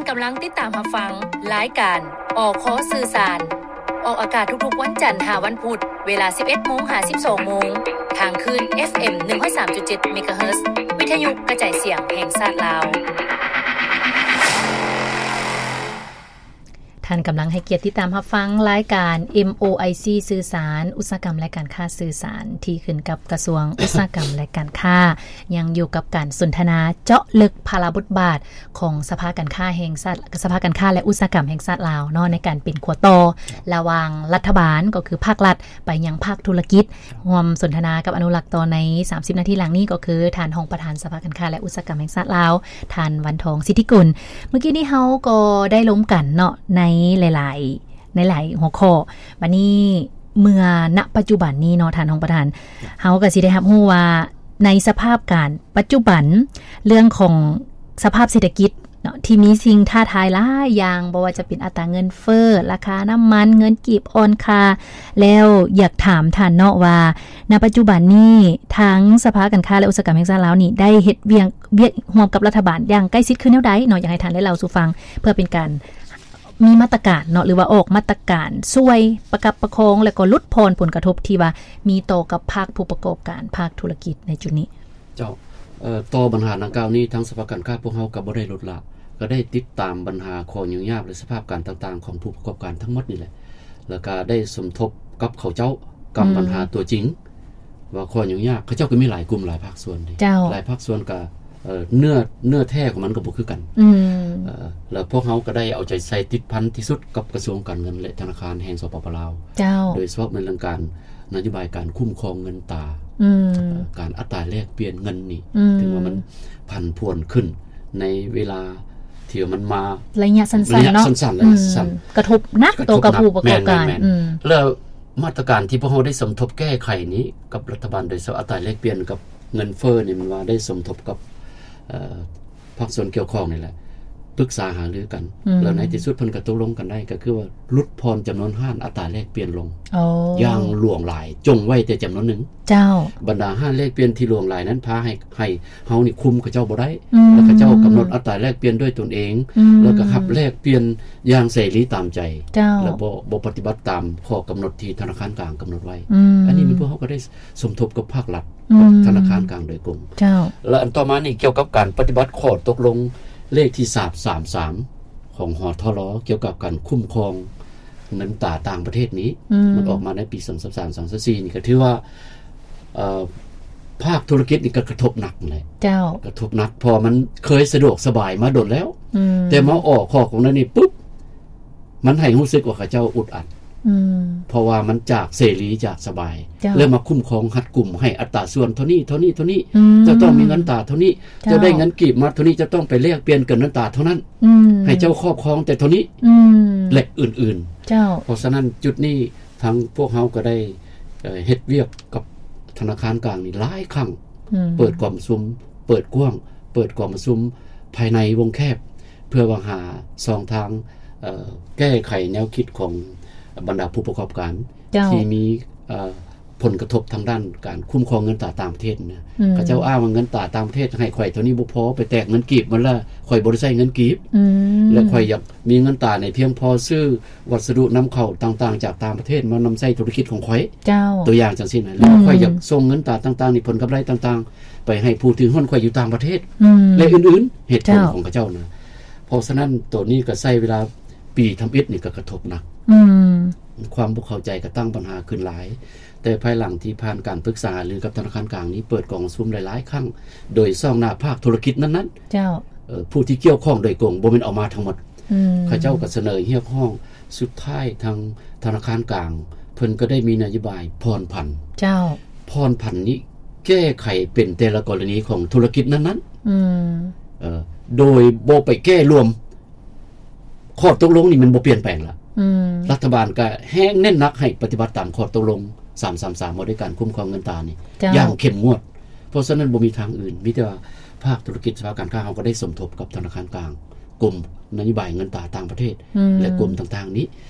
ກຳລັງຕິດຕາມຮັບຟັງລາຍການ ອຄ ສື່ສານ ອອກອາກາດທຸກໆວັນຈັນຫາວັນພຸດ ເວລາສິບເອັດໂມງຫາສິບສອງໂມງ ທາງຄື້ນ ເອັຟເອັມ ໜຶ່ງຮ້ອຍສາມຈຸດເຈັດ ເມກາເຮີດ ວິທະຍຸກະຈາຍສຽງແຫ່ງຊາດລາວ. ທ່ານກຳລັງໃຫ້ກຽດຕິດຕາມຮັບຟັງລາຍການ ເອັມໂອໄອຊີ ສື່ສານ ອຸດສາຫະກຳ ແລະ ການຄ້າ ສື່ສານ ທີ່ຂຶ້ນກັບກະຊວງອຸດສາຫະກຳ ແລະ ການຄ້າ. ຍັງຢູ່ກັບການສົນທະນາເຈາະເລິກພາລະບົດບາດຂອງສະພາການຄ້າແຫ່ງຊາດ ສະພາການຄ້າ ແລະ ອຸດສາຫະກຳແຫ່ງຊາດລາວເນາະ ໃນການເປັນຂົວຕໍ່ລະຫວ່າງລັດຖະບານ ກໍຄືພາກລັດ ໄປຍັງພາກທຸລະກິດ. ຮ່ວມສົນທະນາກັບອະນຸລັກຕໍ່ໃນສາມສິບນາທີຫຼັງນີ້ ກໍຄືທ່ານຮອງປະທານສະພາການຄ້າ ແລະ ອຸດສາຫະກຳແຫ່ງຊາດລາວ ທ່ານ ວັນທອງ ສິດທິກຸນ. ເມື່ອກີ້ນີ້ເຮົາກໍໄດ້ລົມກັນເນາະ ໃນຫຼາຍໆ ໃນຫຼາຍຫົວຂໍ້. ບາດນີ້ເມື່ອ ນະ ປັດຈຸບັນນີ້ເນາະ ທ່ານຮອງປະທານ ເຮົາກໍຊິໄດ້ຮັບຮູ້ວ່າ ໃນສະພາບການປັດຈຸບັນ ເລື່ອງຂອງສະພາບເສດຖະກິດເນາະ ທີ່ມີສິ່ງທ້າທາຍຫຼາຍຢ່າງ, ບໍ່ວ່າຈະເປັນອັດຕາເງິນເຟີ້, ລາຄານ້ຳມັນ, ເງິນກີບອ່ອນຄ່າ, ແລ້ວຢາກຖາມທ່ານເນາະວ່າ ນະ ປັດຈຸບັນນີ້ ທາງສະພາການຄ້າ ແລະ ອຸດສາຫະກຳແຫ່ງຊາດລາວນີ້ ໄດ້ເຮັດວຽກ ວຽກຮ່ວມກັບລັດຖະບານຢ່າງໃກ້ຊິດຄືແນວໃດເນາະ? ຢາກໃຫ້ທ່ານໄດ້ເລົ່າສູ່ຟັງ ເພື່ອເປັນການ ມີມາດຕະການເນາະ ຫຼືວ່າອອກມາດຕະການຊ່ວຍປະຄັບປະຄອງ ແລະ ກໍຫຼຸດຜ່ອນຜົນກະທົບທີ່ວ່າມີຕໍ່ກັບພາກຜູ້ປະກອບການ ພາກທຸລະກິດໃນຈຸດນີ້. ເຈົ້າ, ເອີ, ຕໍ່ບັນຫາດັ່ງກ່າວນີ້ ທາງສະພາການຄ້າພວກເຮົາກໍບໍ່ໄດ້ລົດລະ, ກໍໄດ້ຕິດຕາມບັນຫາຂໍ້ຫຍຸ້ງຍາກ ແລະ ສະພາບການຕ່າງໆຂອງຜູ້ປະກອບການທັງໝົດນີ້ແຫຼະ, ແລ້ວກໍໄດ້ສົມທົບກັບເຂົາເຈົ້າ ກັບ ອືມ ບັນຫາຕົວຈິງ ວ່າຂໍ້ຫຍຸ້ງຍາກ ເຂົາເຈົ້າກໍມີຫຼາຍກຸ່ມຫຼາຍພາກສ່ວນເດ້. ເຈົ້າ. ຫຼາຍພາກສ່ວນກໍ ເອີ ເນື້ອ ເນື້ອແທ້ຂອງມັນກໍບໍ່ຄືກັນ. ອືມ. ເອີ ແລ້ວພວກເຮົາກໍໄດ້ເອົາໃຈໃສ່ຕິດພັນທີ່ສຸດກັບກະຊວງການເງິນ ແລະ ທະນາຄານແຫ່ງ ສປປ ລາວ. ເຈົ້າ. ໂດຍສະເພາະແມ່ນເລື່ອງການ ນະໂຍບາຍການຄຸ້ມຄອງເງິນຕາ. ອືມ. ເອີ ການອັດຕາແລກປ່ຽນເງິນນີ້ ອືມ ເຖິງວ່າມັນຜັນຜວນຂຶ້ນໃນເວລາທີ່ວ່າມັນມາໄລຍະສັ້ນໆ ໄລຍະເນາະ. ສັ້ນໆ ໄລຍະສັ້ນໆ. ອືມ. ກະທົບໜັກຕໍ່ກັບຜູ້ປະກອບການ. ແມ່ນໆ. ອືມ. ແລ້ວ ມາດຕະການທີ່ພວກເຮົາໄດ້ສົມທົບແກ້ໄຂນີ້ກັບລັດຖະບານ ໂດຍສະເພາະອັດຕາແລກປ່ຽນກັບເງິນເຟີ້ນີ້ ແມ່ນວ່າໄດ້ສົມທົບກັບ ເອີ ພາກສ່ວນກ່ຽວຂ້ອງນີ້ແຫຼະ ປຶກສາຫາລືກັນ. ອືມ. ແລ້ວໃນທີ່ສຸດເພິ່ນກໍຕົກລົງກັນໄດ້ ກໍຄືວ່າຫຼຸດຜ່ອນຈຳນວນຮ້ານອັດຕາແລກປ່ຽນລົງ. ອໍ. ຢ່າງຫຼວງຫຼາຍ, ຈົ່ງໄວ້ແຕ່ຈຳນວນໜຶ່ງ. ເຈົ້າ. ບັນດາຮ້ານແລກປ່ຽນທີ່ຫຼວງຫຼາຍນັ້ນ ພາໃຫ້ ໃຫ້ເຮົານີ້ຄຸມເຂົາເຈົ້າບໍ່ໄດ້. ອືມ. ແລ້ວເຂົາເຈົ້າກຳນົດອັດຕາແລກປ່ຽນດ້ວຍຕົນເອງ. ອືມ. ແລ້ວກໍຮັບແລກປ່ຽນຢ່າງເສລີຕາມໃຈ. ເຈົ້າ. ແລ້ວບໍ່ ບໍ່ປະຕິບັດຕາມຂໍ້ກຳນົດທີ່ທະນາຄານກາງກຳນົດໄວ້. ອືມ. ອັນນີ້ແມ່ນພວກເຮົາກໍໄດ້ສົມທົບກັບພາກລັດ ອືມ. ກັບທະນາຄານກາງໂດຍກົງ. ເຈົ້າ. ແລະ ອັນຕໍ່ມານີ້ ກ່ຽວກັບການປະຕິບັດຂໍ້ຕົກລົງເລກທີສາມສາມສາມ ຂອງ ຫທລ ກ່ຽວກັບການຄຸ້ມຄອງເງິນຕາຕ່າງປະເທດນີ້ ອືມ. ມັນອອກມາໃນປີສອງພັນຊາວສາມ ສອງພັນຊາວສີ່ນີ້ ກໍຖືວ່າ ເອີ ພາກທຸລະກິດນີ້ກໍກະທົບໜັກແຫຼະ. ເຈົ້າ. ກະທົບໜັກ ເພາະວ່າມັນເຄີຍສະດວກສະບາຍມາດົນແລ້ວ. ອືມ. ແຕ່ມາອອກຂໍ້ກຳນົດນີ້ປຸບ ມັນໃຫ້ຮູ້ສຶກວ່າເຂົາເຈົ້າອຶດອັດ. ອືມ. ເພາະວ່າມັນຈາກເສລີ ຈາກສະບາຍ. ເຈົ້າ. ແລ້ວມາຄຸ້ມຄອງຮັດກຸມ ໃຫ້ອັດຕາສ່ວນເທົ່ານີ້ ເທົ່ານີ້ ເທົ່ານີ້. ອືມ. ເຈົ້າຕ້ອງມີເງິນຕາເທົ່ານີ້. ເຈົ້າ. ເຈົ້າໄດ້ເງິນກີບມາເທົ່ານີ້ ເຈົ້າຕ້ອງໄປແລກປ່ຽນກັບເງິນຕາເທົ່ານັ້ນ. ອືມ. ໃຫ້ເຈົ້າຄອບຄອງແຕ່ເທົ່ານີ້. ອືມ. ແລະ ອື່ນໆ. ເຈົ້າ. ເພາະສະນັ້ນ ຈຸດນີ້ ທາງພວກເຮົາກໍໄດ້ ເອີ ເຮັດວຽກກັບທະນາຄານກາງນີ້ຫຼາຍຄັ້ງ. ອືມ. ເປີດກອງປະຊຸມ ເປີດກວ້າງ ເປີດກອງປະຊຸມພາຍໃນວົງແຄບ ເພື່ອຫວັງຫາຊ່ອງທາງ ເອີ ແກ້ໄຂແນວຄິດຂອງບັນດາຜູ້ປະກອບການ ເຈົ້າ. ທີ່ມີ ເອີ ຜົນກະທົບທາງດ້ານການຄຸ້ມຄອງເງິນຕາຕ່າງປະເທດນະ. ອືມ. ເຂົາເຈົ້າອ້າງວ່າເງິນຕາຕ່າງປະເທດໃຫ້ຂ້ອຍເທົ່ານີ້ບໍ່ພໍ ໄປແຕກເງິນກີບໝົດລະ ຂ້ອຍບໍ່ໄດ້ໃຊ້ເງິນກີບ. ອືມ. ແລະ ຂ້ອຍຢາກມີເງິນຕາໃນພຽງພໍຊື້ວັດສະດຸນຳເຂົ້າຕ່າງໆຈາກຕ່າງປະເທດ ມານຳໃຊ້ທຸລະກິດຂອງຂ້ອຍ. ເຈົ້າ. ຕົວຢ່າງຈັ່ງຊີ້ນະ. ອືມ. ແລ້ວຂ້ອຍຢາກສົ່ງເງິນຕາຕ່າງໆນີ້ ຜົນກຳໄລຕ່າງໆ ໄປໃຫ້ຜູ້ຖືຫຸ້ນຂ້ອຍຢູ່ຕ່າງປະເທດ. ອືມ. ແລະ ອື່ນໆ ເຫດຜົນ ເຈົ້າ. ຂອງເຂົາເຈົ້ານະ. ເພາະສະນັ້ນ ໂຕນີ້ກໍໃຊ້ເວລາປີທຳອິດນີ້ກໍກະທົບໜັກ. ອືມ. ຄວາມບໍ່ເຂົ້າໃຈກໍຕັ້ງບັນຫາຂຶ້ນຫຼາຍ. ແຕ່ພາຍຫຼັງທີ່ຜ່ານການປຶກສາຫາລືກັບທະນາຄານກາງນີ້ ເປີດກອງປະຊຸມຫຼາຍໆຄັ້ງ ໂດຍຊ່ອງໜ້າພາກທຸລະກິດນັ້ນໆ. ເຈົ້າ. ເອີ ຜູ້ທີ່ກ່ຽວຂ້ອງໂດຍກົງ ບໍ່ແມ່ນເອົາມາທັງໝົດ. ອືມ. ເຂົາເຈົ້າກໍສະເໜີຮຽກຮ້ອງ ສຸດທ້າຍທາງທະນາຄານກາງ ເພິ່ນກໍໄດ້ມີນະໂຍບາຍຜ່ອນຜັນ. ເຈົ້າ. ຜ່ອນຜັນນີ້ແກ້ໄຂເປັນແຕ່ລະກໍລະນີຂອງທຸລະກິດນັ້ນໆ. ອືມ. ເອີ ໂດຍບໍ່ໄປແກ້ລວມ ຂໍ້ຕົກລົງນີ້ມັນບໍ່ປ່ຽນແປງລະ. ອືມ. ລັດຖະບານກະແຮງເນັ້ນໜັກໃຫ້ປະຕິບັດຕາມຂໍ້ຕົກລົງສາມສາມສາມ ວ່າດ້ວຍການຄຸ້ມຄອງເງິນຕານີ້ ເຈົ້າ. ຢ່າງເຂັ້ມງວດ. ເພາະສະນັ້ນບໍ່ມີທາງອື່ນ ມີແຕ່ວ່າພາກທຸລະກິດ ສະພາການຄ້າເຮົາກໍໄດ້ສົມທົບກັບທະນາຄານກາງ, ກົມນະໂຍບາຍເງິນຕາຕ່າງປະເທດ ອືມ. ແລະ ກົມຕ່າງໆນີ້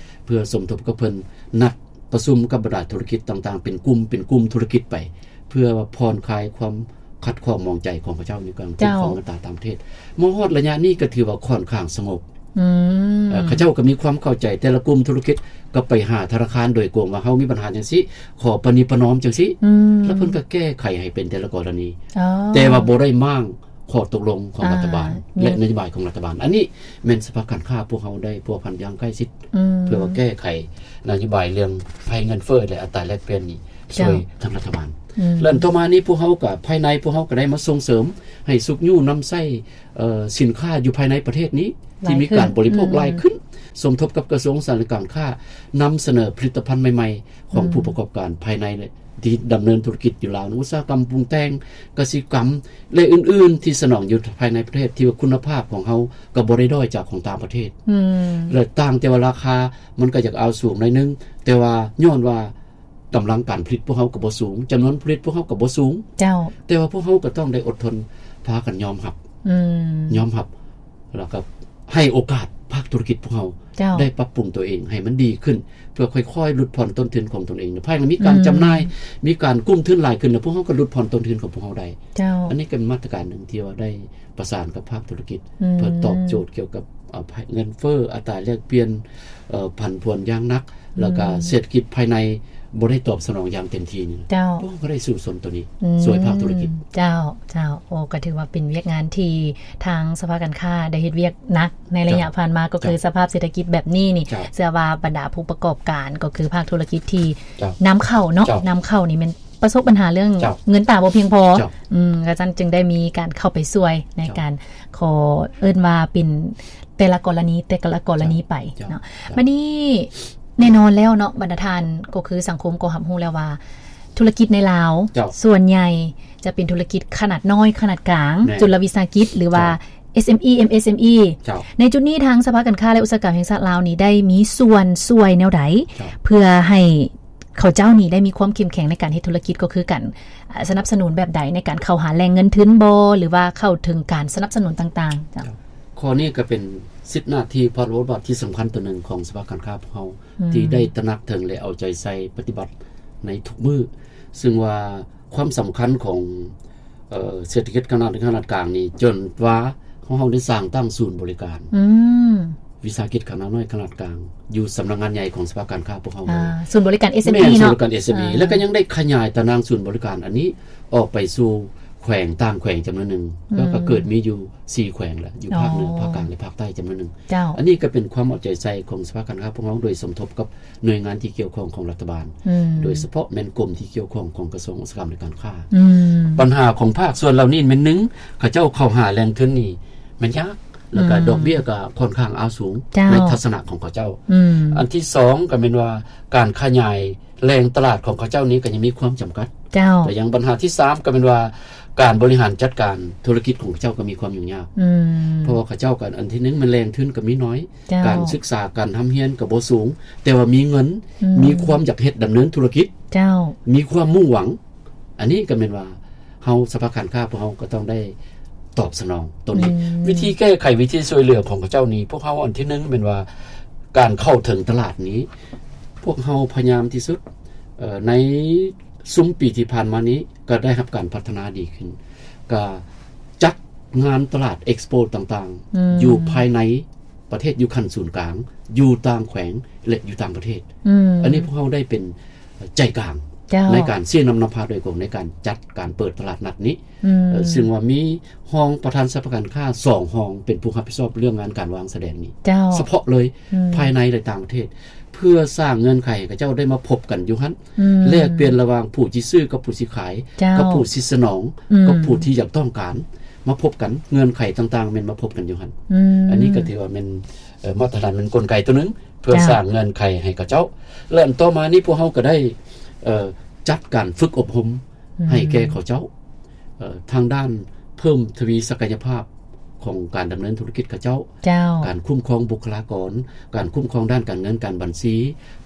ເພື່ອສົມທົບກັບເພິ່ນ ນັດປະຊຸມກັບບັນດາທຸລະກິດຕ່າງໆ ເປັນກຸ່ມ ເປັນກຸ່ມທຸລະກິດໄປ ເພື່ອວ່າຜ່ອນຄາຍຄວາມຂັດຂ້ອງໝອງໃຈຂອງເຂົາເຈົ້າໃນການ ເຈົ້າ. ຄຸ້ມຄອງເງິນຕາຕ່າງປະເທດ. ມາຮອດໄລຍະນີ້ກໍຖືວ່າຂ້ອນຂ້າງສະຫງົບ. ອືມ ເອີ ເຂົາເຈົ້າກໍມີຄວາມເຂົ້າໃຈ ແຕ່ລະກຸ່ມທຸລະກິດກໍໄປຫາທະນາຄານໂດຍກົງວ່າ ເຮົາມີບັນຫາຈັ່ງຊີ້ ຂໍປະນີປະນອມຈັ່ງຊີ້ ອືມ ແລ້ວເພິ່ນກໍແກ້ໄຂໃຫ້ເປັນແຕ່ລະກໍລະນີ ອໍ ແຕ່ວ່າບໍ່ໄດ້ມ້າງຂໍ້ຕົກລົງຂອງ ອ່າ ລັດຖະບານ ແລະ ນະໂຍບາຍຂອງລັດຖະບານ. ອັນນີ້ແມ່ນສະພາການຄ້າພວກເຮົາໄດ້ພົວພັນຢ່າງໃກ້ຊິດ ອືມ ເພື່ອວ່າແກ້ໄຂນະໂຍບາຍເລື່ອງໄພເງິນເຟີ້ ແລະ ອັດຕາແລກປ່ຽນນີ້ ເຈົ້າ ຊ່ວຍທາງລັດຖະບານ ອືມ ແລະ ຕໍ່ມານີ້ພວກເຮົາກໍ ພາຍໃນພວກເຮົາກໍໄດ້ມາສົ່ງເສີມໃຫ້ຊຸກຍູ້ນຳໃຊ້ ເອີ ສິນຄ້າຢູ່ພາຍໃນປະເທດນີ້ ທີ່ມີການບໍລິໂພກຫຼາຍຂຶ້ນ ຫຼາຍຂຶ້ນ ສົມທົບກັບກະຊວງອຸດສາຫະກຳການຄ້າ ນຳສະເໜີຜະລິດຕະພັນໃໝ່ໆ ຂອງ ອືມ ຜູ້ປະກອບການພາຍໃນ ທີ່ດຳເນີນທຸລະກິດຢູ່ລາວ ອຸດສາຫະກຳປຸງແຕ່ງ ກະສິກຳ ແລະ ອື່ນໆ ທີ່ສະໜອງຢູ່ພາຍໃນປະເທດ ທີ່ວ່າຄຸນນະພາບຂອງເຮົາກໍບໍ່ໄດ້ດ້ອຍຈາກຂອງຕ່າງປະເທດ ອືມ ແລະ ຕ່າງແຕ່ວ່າລາຄາມັນກໍຢາກເອົາສູງໜ້ອຍໜຶ່ງ ແຕ່ວ່າຍ້ອນວ່າ ກຳລັງການຜະລິດພວກເຮົາກໍບໍ່ສູງ, ຈຳນວນຜູ້ຜະລິດພວກເຮົາກໍບໍ່ສູງ. ເຈົ້າ. ແຕ່ວ່າພວກເຮົາກໍຕ້ອງໄດ້ອົດທົນ ພາກັນຍອມຮັບ, ອືມ, ຍອມຮັບ ແລ້ວກໍໃຫ້ໂອກາດພາກທຸລະກິດພວກເຮົາ ເຈົ້າ, ໄດ້ປັບປຸງຕົວເອງໃຫ້ມັນດີຂຶ້ນ ເພື່ອຄ່ອຍໆຫຼຸດຜ່ອນຕົ້ນທຶນຂອງຕົນເອງ. ພາຍຫຼັງມີການ ອືມ, ຈຳໜ່າຍ, ມີການກູ້ທຶນຫຼາຍຂຶ້ນ ແລ້ວພວກເຮົາກໍຫຼຸດຜ່ອນຕົ້ນທຶນຂອງພວກເຮົາໄດ້. ເຈົ້າ. ອັນນີ້ກໍເປັນມາດຕະການໜຶ່ງທີ່ວ່າໄດ້ ປະສານກັບພາກທຸລະກິດ ອືມ ເພື່ອຕອບໂຈດກ່ຽວກັບ ເອີ ເງິນເຟີ້, ອັດຕາແລກປ່ຽນ, ເອີ ຜັນຜວນຢ່າງໜັກ, ອືມ ແລ້ວກະເສດຖະກິດພາຍໃນບໍ່ໄດ້ຕອບສະໜອງຢ່າງເຕັມທີ່ນີ້. ເຈົ້າ. ພວກເຮົາກໍໄດ້ສູ້ຊົນໂຕນີ້ ອືມ ຊ່ວຍພາກທຸລະກິດ. ເຈົ້າ, ເຈົ້າ. ໂອ້ ກໍຖືວ່າເປັນວຽກງານທີ່ທາງສະພາການຄ້າໄດ້ເຮັດວຽກໜັກໃນໄລຍະ ເຈົ້າ ຜ່ານມາ, ກໍຄື ເຈົ້າ ສະພາບເສດຖະກິດແບບນີ້ນີ້ ເຈົ້າ ເຊື່ອວ່າບັນດາຜູ້ປະກອບການ ກໍຄືພາກທຸລະກິດທີ່ ເຈົ້າ ນຳເຂົ້າເນາະ, ເຈົ້າ ນຳເຂົ້ານີ້ແມ່ນ ປະສົບບັນຫາເລື່ອງ ເຈົ້າ ເງິນຕາບໍ່ພຽງພໍ. ເຈົ້າ. ອືມ, ກະຊັ້ນຈຶ່ງໄດ້ມີການເຂົ້າໄປຊ່ວຍໃນ ເຈົ້າ ການ ຂໍເອີ້ນວ່າເປັນແຕ່ລະກໍລະນີ ແຕ່ລະກໍລະນີໄປ ເຈົ້າ ເນາະ. ເຈົ້າ. ບັດນີ້ແນ່ນອນແລ້ວເນາະ ບັນດາທ່ານ ກໍຄືສັງຄົມກໍຮັບຮູ້ແລ້ວວ່າ ທຸລະກິດໃນລາວ ເຈົ້າ ສ່ວນໃຫຍ່ຈະເປັນທຸລະກິດຂະໜາດນ້ອຍ ຂະໜາດກາງ ແມ່ນ ຈຸນລະວິສາຫະກິດ ຫຼືວ່າ ເຈົ້າ ເອັສເອັມອີ ເອັມເອັສເອັມອີ. ເຈົ້າ. ໃນຈຸດນີ້ທາງສະພາການຄ້າ ແລະ ອຸດສາຫະກຳແຫ່ງຊາດລາວນີ້ ໄດ້ມີສ່ວນຊ່ວຍແນວໃດ ເຈົ້າ ເພື່ອໃຫ້ ເຂົາເຈົ້ານີ້ໄດ້ມີຄວາມເຂັ້ມແຂງໃນການເຮັດທຸລະກິດ ກໍຄືການ ເອີ ສະໜັບສະໜູນແບບໃດໃນການເຂົ້າຫາແຫຼ່ງເງິນທຶນບໍ ຫຼືວ່າເຂົ້າເຖິງການສະໜັບສະໜູນຕ່າງໆ? ເຈົ້າ. ເຈົ້າ. ຂໍ້ນີ້ກໍເປັນສິດໜ້າທີ່ ພາລະບົດບາດທີ່ສຳຄັນຕົວໜຶ່ງຂອງສະພາການຄ້າພວກເຮົາ ອືມ ທີ່ໄດ້ຕະໜັກເຖິງ ແລະ ເອົາໃຈໃສ່ປະຕິບັດໃນທຸກມື້ ຊຶ່ງວ່າຄວາມສຳຄັນຂອງ ເອີ ເສດຖະກິດຂະໜາດນ້ອຍ ຂະໜາດກາງນີ້ ຈົນວ່າ ຂອງເຮົາໄດ້ສ້າງຕັ້ງສູນບໍລິການ ອືມ ວິສາຫະກິດຂະໜາດນ້ອຍ ຂະໜາດກາງ ຢູ່ສຳນັກງານໃຫຍ່ຂອງສະພາການຄ້າພວກເຮົາເລີຍ. ສູນບໍລິການ ເອັສເອັມອີ ແມ່ນ ເນາະ. ສູນບໍລິການ ເອັສເອັມອີ ອ່າ ແລ້ວກໍຍັງໄດ້ຂະຫຍາຍຕາໜ່າງສູນບໍລິການອັນນີ້ອອກໄປສູ່ແຂວງຕ່າງແຂວງຈຳນວນໜຶ່ງ ອືມ ແລ້ວກໍເກີດມີຢູ່ສີ່ແຂວງແລ້ວ ຢູ່ພາກເໜືອ ອໍ ພາກກາງ ແລະ ພາກໃຕ້ຈຳນວນໜຶ່ງ. ເຈົ້າ. ອັນນີ້ກໍເປັນຄວາມເອົາໃຈໃສ່ຂອງສະພາການຄ້າພວກເຮົາ ໂດຍສົມທົບກັບໜ່ວຍງານທີ່ກ່ຽວຂ້ອງຂອງລັດຖະບານ ອືມ ໂດຍສະເພາະແມ່ນກົມທີ່ກ່ຽວຂ້ອງຂອງກະຊວງອຸດສາຫະກຳ ແລະ ການຄ້າ. ອືມ. ບັນຫາຂອງພາກສ່ວນເຫຼົ່ານີ້ແມ່ນ ໜຶ່ງ ເຂົາເຈົ້າເຂົ້າຫາແຫຼ່ງທຶນນີ້ແມ່ນຍາກ ແລ້ວກໍ ອືມ ດອກເບ້ຍກໍຄ່ອນຂ້າງເອົາສູງ ເຈົ້າ ໃນທັດສະນະຂອງເຂົາເຈົ້າ. ອືມ. ອັນທີສອງກໍແມ່ນວ່າການຂະຫຍາຍແຫຼ່ງຕະຫຼາດຂອງເຂົາເຈົ້ານີ້ກໍຍັງມີຄວາມຈຳກັດ. ເຈົ້າ. ແລະ ຢ່າງບັນຫາທີສາມກໍແມ່ນວ່າການບໍລິຫານຈັດການທຸລະກິດຂອງເຂົາເຈົ້າກໍມີຄວາມຫຍຸ້ງຍາກ. ອືມ. ເພາະວ່າເຂົາເຈົ້າກໍ ອັນທີໜຶ່ງ ແມ່ນແຫຼ່ງທຶນກໍມີໜ້ອຍ. ເຈົ້າ. ການສຶກສາການຮ່ຳຮຽນກໍບໍ່ສູງ ແຕ່ວ່າມີເງິນ ອືມ ມີຄວາມຢາກເຮັດດຳເນີນທຸລະກິດ. ເຈົ້າ. ມີຄວາມມຸ່ງຫວັງ ອັນນີ້ກໍແມ່ນວ່າເຮົາສະພາການຄ້າພວກເຮົາກໍຕ້ອງໄດ້ຕອບສະໜອງໂຕນີ້. ອືມ. ວິທີແກ້ໄຂ ວິທີຊ່ວຍເຫຼືອຂອງເຂົາເຈົ້ານີ້ ພວກເຮົາອັນທີໜຶ່ງແມ່ນວ່າການເຂົ້າເຖິງຕະຫຼາດນີ້ ພວກເຮົາພະຍາຍາມທີ່ສຸດ ເອີ ໃນຊຸມປີທີ່ຜ່ານມານີ້ກໍໄດ້ຮັບການພັດທະນາດີຂຶ້ນ ກໍຈັດງານຕະຫຼາດ ເອັກສະໂປ ຕ່າງໆ ອືມ ຢູ່ພາຍໃນ ປະເທດຢູ່ຂັ້ນສູນກາງ ຢູ່ຕ່າງແຂວງ ແລະ ຢູ່ຕ່າງປະເທດ. ອືມ. ອັນນີ້ພວກເຮົາໄດ້ເປັນໃຈກາງ ເຈົ້າ ໃນການຊີ້ນຳນຳພາໂດຍກົງໃນການຈັດການເປີດຕະຫຼາດນັດນີ້. ອືມ. ເອີ ຊຶ່ງວ່າມີຮອງປະທານສະພາການຄ້າສອງຮອງ ເປັນຜູ້ຮັບຜິດຊອບເລື່ອງງານການວາງສະແດງນີ້ ເຈົ້າ ສະເພາະເລີຍ ອືມ ພາຍໃນ ແລະ ຕ່າງປະເທດ ເພື່ອສ້າງເງື່ອນໄຂໃຫ້ເຂົາເຈົ້າໄດ້ມາພົບກັນຢູ່ຫັ້ນ ອືມ ແລກປ່ຽນລະຫວ່າງຜູ້ຊິຊື້ກັບຜູ້ຊິຂາຍ ເຈົ້າ ກັບຜູ້ຊິສະໜອງ ອືມ ກັບຜູ້ທີ່ຢາກຕ້ອງການ ມາພົບກັນ ເງື່ອນໄຂຕ່າງໆ ແມ່ນມາພົບກັນຢູ່ຫັ້ນ. ອືມ ອັນນີ້ກໍຖືວ່າແມ່ນ ເອີ ມາດຕະຖານ ແມ່ນກົນໄກຕົວໜຶ່ງ ເພື່ອ ເຈົ້າ ສ້າງເງື່ອນໄຂໃຫ້ເຂົາເຈົ້າ. ແລະ ອັນຕໍ່ມານີ້ ພວກເຮົາກໍໄດ້ ເອີ ຈັດການຝຶກອົບຮົມ ອືມ ໃຫ້ແກ່ເຂົາເຈົ້າ ເອີ ທາງດ້ານເພີ່ມທະວີສັກກະຍະພາບຂອງການດຳເນີນທຸລະກິດເຂົາເຈົ້າ, ເຈົ້າ ການຄຸ້ມຄອງບຸກຄະລາກອນ, ການຄຸ້ມຄອງດ້ານການເງິນການບັນຊີ,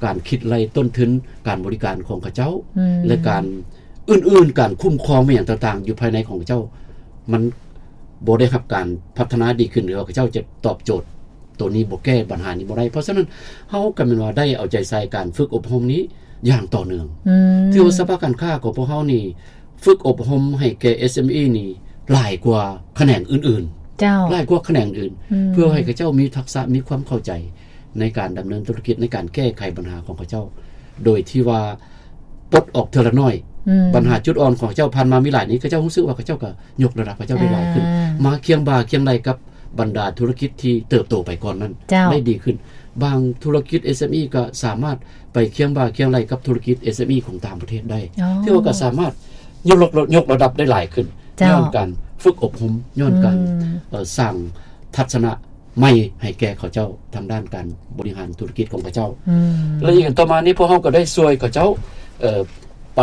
ການຄິດໄລ່ຕົ້ນທຶນການບໍລິການຂອງເຂົາເຈົ້າ ອືມ ແລະ ການອື່ນໆ, ການຄຸ້ມຄອງແມ່ນຫຍັງຕ່າງໆ ຢູ່ພາຍໃນຂອງເຂົາເຈົ້າ ມັນບໍ່ໄດ້ຮັບການພັດທະນາດີຂຶ້ນ ຫຼືວ່າເຂົາເຈົ້າຈະຕອບໂຈດ ໂຕນີ້ບໍ່ແກ້ບັນຫານີ້ບໍ່ໄດ້. ເພາະສະນັ້ນ ເຮົາກໍແມ່ນວ່າໄດ້ເອົາໃຈໃສ່ການຝຶກອົບຮົມນີ້ຢ່າງຕໍ່ເນື່ອງ. ອືມ ຖືວ່າສະພາການຄ້າຂອງພວກເຮົານີ້ຝຶກອົບຮົມໃຫ້ແກ່ ເອັສເອັມອີ ນີ້ຫຼາຍກວ່າຂະແໜງອື່ນໆ. ເຈົ້າ ຫຼາຍກວ່າຂະແໜງອື່ນ ອືມ ເພື່ອໃຫ້ເຂົາເຈົ້າມີທັກສະ ມີຄວາມເຂົ້າໃຈໃນການດຳເນີນທຸລະກິດ ໃນການແກ້ໄຂບັນຫາຂອງເຂົາເຈົ້າ ໂດຍທີ່ວ່າປົດອອກເທື່ອລະໜ້ອຍ ອືມ ບັນຫາຈຸດອ່ອນຂອງເຂົາເຈົ້າຜ່ານມາມີຫຼາຍນີ້ ເຂົາເຈົ້າຮູ້ສຶກວ່າເຂົາເຈົ້າກໍຍົກລະດັບເຂົາເຈົ້າໄດ້ຫຼາຍຂຶ້ນ ອ່າ ມາຄຽງບ່າຄຽງໄຫຼ່ກັບບັນດາທຸລະກິດທີ່ເຕີບໂຕໄປກ່ອນນັ້ນ ເຈົ້າ ໄດ້ດີຂຶ້ນ. ບາງທຸລະກິດ ເອສເອັມອີ ກໍສາມາດໄປຄຽງບ່າຄຽງໄຫຼ່ກັບທຸລະກິດ ເອສເອັມອີ ຂອງຕ່າງປະເທດໄດ້ ອໍ ຖືວ່າກໍສາມາດຍົກລະ ຍົກລະດັບໄດ້ຫຼາຍຂຶ້ນ ເຈົ້າ ຍ້ອນການຝຶກອົບຮົມ ຍ້ອນການ ອືມ ເອີ ສ້າງທັດສະນະໃໝ່ໃຫ້ແກ່ເຂົາເຈົ້າທາງດ້ານການບໍລິຫານທຸລະກິດຂອງເຂົາເຈົ້າ ອືມ ແລະ ອີກຕໍ່ມານີ້ ພວກເຮົາກໍໄດ້ຊ່ວຍເຂົາເຈົ້າ ເອີ ໄປ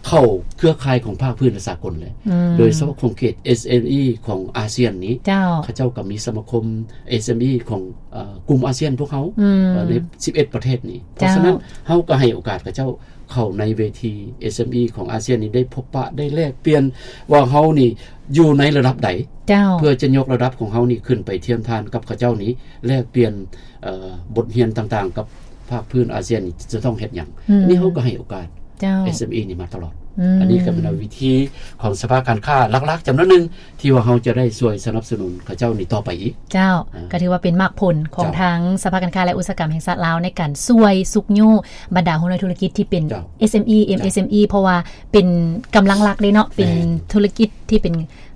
ເຂົ້າເຄືອຂ່າຍຂອງພາກພື້ນ ແລະ ສາກົນແຫຼະ ອືມ ໂດຍສະເພາະຂົງເຂດ ເອສເອັມອີ ຂອງອາຊຽນນີ້ ເຈົ້າ ເຂົາເຈົ້າກໍມີສະມາຄົມ ເອສເອັມອີ ຂອງ ເອີ ກຸ່ມອາຊຽນພວກເຮົາ ອືມ ເອີ ໃນສິບເອັດປະເທດນີ້ ເຈົ້າ ເພາະສະນັ້ນ ເຮົາກໍໃຫ້ໂອກາດເຂົາເຈົ້າເຂົ້າໃນເວທີ ເອສເອັມອີ ຂອງອາຊຽນນີ້ ໄດ້ພົບປະ ໄດ້ແລກປ່ຽນວ່າເຮົານີ້ຢູ່ໃນລະດັບໃດ ເຈົ້າ ເພື່ອຈະຍົກລະດັບຂອງເຮົານີ້ຂຶ້ນໄປທຽມທານກັບເຂົາເຈົ້ານີ້ ແລກປ່ຽນ ເອີ ບົດຮຽນຕ່າງໆກັບພາກພື້ນອາຊຽນນີ້ຈະຕ້ອງເຮັດຫຍັງ ອືມ ນີ້ເຮົາກໍໃຫ້ໂອກາດ ເຈົ້າ ເອສເອັມອີ ນີ້ມາຕະຫຼອດ ອືມ ອັນນີ້ກໍເປັນວິທີຂອງສະພາການຄ້າຫຼັກໆຈຳນວນໜຶ່ງ ທີ່ວ່າເຮົາຈະໄດ້ຊ່ວຍສະໜັບສະໜູນເຂົາເຈົ້ານີ້ຕໍ່ໄປອີກ ເຈົ້າ ອ່າ ກໍຖືວ່າເປັນໝາກຜົນຂອງ ເຈົ້າ ທາງສະພາການຄ້າ ແລະ ອຸດສາຫະກຳແຫ່ງຊາດລາວ ໃນການຊ່ວຍຊຸກຍູ້ບັນດາຫົວໜ່ວຍທຸລະກິດທີ່ເປັນ ເຈົ້າ ເອສເອັມອີ ເຈົ້າ ເອັມເອສເອັມອີ ເພາະວ່າເປັນກຳລັງຫຼັກເດ້ເນາະ ແມ່ນ ເປັນທຸລະກິດ ທີ່ເປັນ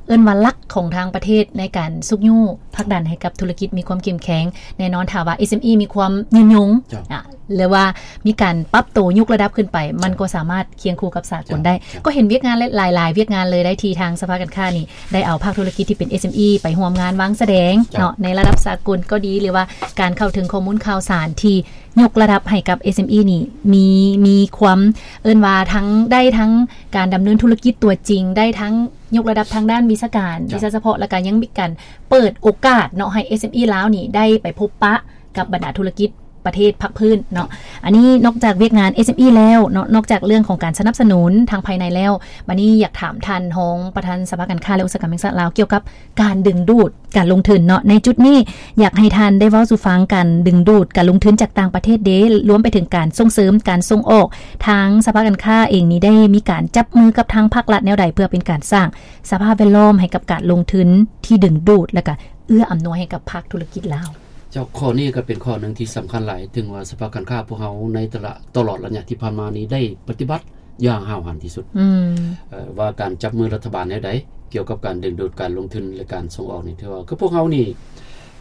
ເອີ້ນວ່າຫຼັກຂອງທາງປະເທດໃນການຊຸກຍູ້ຜັກດັນໃຫ້ກັບທຸລະກິດມີຄວາມເຂັ້ມແຂງ. ແນ່ນອນ ຖ້າວ່າ ເອສເອັມອີ ມີຄວາມຍືນຍົງ ເຈົ້າ ອາ ຫຼືວ່າມີການປັບໂຕຍົກລະດັບຂຶ້ນໄປ ມັນກໍສາມາດຄຽງຄູ່ກັບສາກົນໄດ້. ເຈົ້າ ກໍເຫັນວຽກງານຫຼາຍໆວຽກງານເລີຍໄດ້ ທີ່ທາງສະພາການຄ້ານີ້ໄດ້ເອົາພາກທຸລະກິດທີ່ເປັນ ເອສເອັມອີ ໄປຮ່ວມງານວາງສະແດງ ເຈົ້າ ເນາະ ໃນລະດັບສາກົນກໍດີ ຫຼືວ່າການເຂົ້າເຖິງຂໍ້ມູນຂ່າວສານທີ່ ຍົກລະດັບໃຫ້ກັບ ເອສເອັມອີ ນີ້ ມີ ມີຄວາມ ເອີ້ນວ່າທັງ ໄດ້ທັງການດຳເນີນທຸລະກິດຕົວຈິງ ໄດ້ທັງຍົກລະດັບທາງດ້ານວິຊາການ ເຈົ້າ ວິຊາສະເພາະ ແລ້ວກໍຍັງມີການເປີດໂອກາດເນາະ ໃຫ້ ເອສເອັມອີ ລາວນີ້ໄດ້ໄປພົບປະກັບບັນດາທຸລະກິດປະເທດພາກພື້ນເນາະ. ອັນນີ້ນອກຈາກວຽກງານ ເອສເອັມອີ ແລ້ວເນາະ ນອກຈາກເລື່ອງຂອງການສະໜັບສະໜູນທາງພາຍໃນແລ້ວ ບັດນີ້ຢາກຖາມທ່ານຮອງປະທານສະພາການຄ້າ ແລະ ອຸດສາຫະກຳແຫ່ງຊາດລາວ ກ່ຽວກັບ ການດຶງດູດການລົງທຶນເນາະ ໃນຈຸດນີ້ ຢາກໃຫ້ທ່ານໄດ້ເວົ້າສູ່ຟັງ ການດຶງດູດການລົງທຶນຈາກຕ່າງປະເທດເດ ລວມໄປເຖິງການສົ່ງເສີມການສົ່ງອອກ ທາງສະພາການຄ້າເອງນີ້ໄດ້ມີການຈັບມືກັບທາງພາກລັດແນວໃດ ເພື່ອເປັນການສ້າງສະພາບແວດລ້ອມໃຫ້ກັບການລົງທຶນທີ່ດຶງດູດ ແລະ ກະເອື້ອອຳນວຍໃຫ້ກັບພາກທຸລະກິດລາວ? ເຈົ້າ ຂໍ້ນີ້ກໍເປັນຂໍ້ໜຶ່ງທີ່ສຳຄັນຫຼາຍ ເຖິງວ່າສະພາການຄ້າພວກເຮົາໃນຕະຫຼະ ຕະຫຼອດໄລຍະທີ່ຜ່ານມານີ້ໄດ້ປະຕິບັດ ຢ່າງຫ້າວຫັນທີ່ສຸດ ອືມ ເອີ ວ່າການຈັບມືລັດຖະບານແນວໃດ ກ່ຽວກັບການດຶງດູດການລົງທຶນ ແລະ ການສົ່ງອອກນີ້ ຖືວ່າ ຄືພວກເຮົານີ້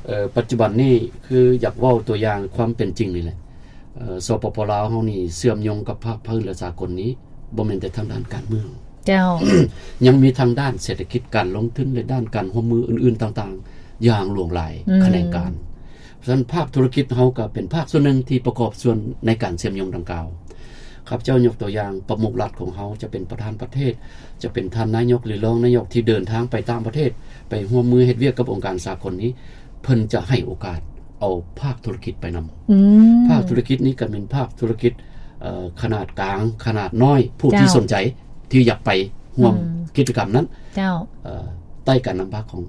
ເອີ ປັດຈຸບັນນີ້ ຄືຢາກເວົ້າຕົວຢ່າງຄວາມເປັນຈິງນີ້ແຫຼະ ເອີ ສປປ ລາວເຮົານີ້ເຊື່ອມໂຍງກັບພາກພື້ນ ແລະ ສາກົນນີ້ ບໍ່ແມ່ນແຕ່ທາງດ້ານການເມືອງ ເຈົ້າ ຍັງມີທາງດ້ານເສດຖະກິດ ການລົງທຶນ ແລະ ດ້ານການຮ່ວມມືອື່ນໆຕ່າງໆ ຢ່າງຫຼວງຫຼາຍ ອືມ ຂະແໜງການ. ສະນັ້ນ ພາກທຸລະກິດເຮົາກໍເປັນພາກສ່ວນໜຶ່ງທີ່ປະກອບສ່ວນໃນການເຊື່ອມໂຍງດັ່ງກ່າວ. ຂ້າພະເຈົ້າຍົກຕົວຢ່າງ ປະມຸກລັດຂອງເຮົາ ຈະເປັນປະທານປະເທດ ຈະເປັນທ່ານນາຍົກ ຫຼື ຮອງນາຍົກ ທີ່ເດີນທາງໄປຕ່າງປະເທດ ໄປຮ່ວມມືເຮັດວຽກກັບອົງການສາກົນນີ້ ເພິ່ນຈະໃຫ້ໂອກາດເອົາພາກທຸລະກິດໄປນຳ ອືມ ພາກທຸລະກິດນີ້ກໍແມ່ນພາກທຸລະກິດ ເອີ ຂະໜາດກາງ ຂະໜາດນ້ອຍ ຜູ້ທີ່ ເຈົ້າ ສົນໃຈທີ່ຢາກໄປຮ່ວມ ອືມ ກິດຈະກຳນັ້ນ ເຈົ້າ ເອີ ໃຕ້ການນຳພາຂອງ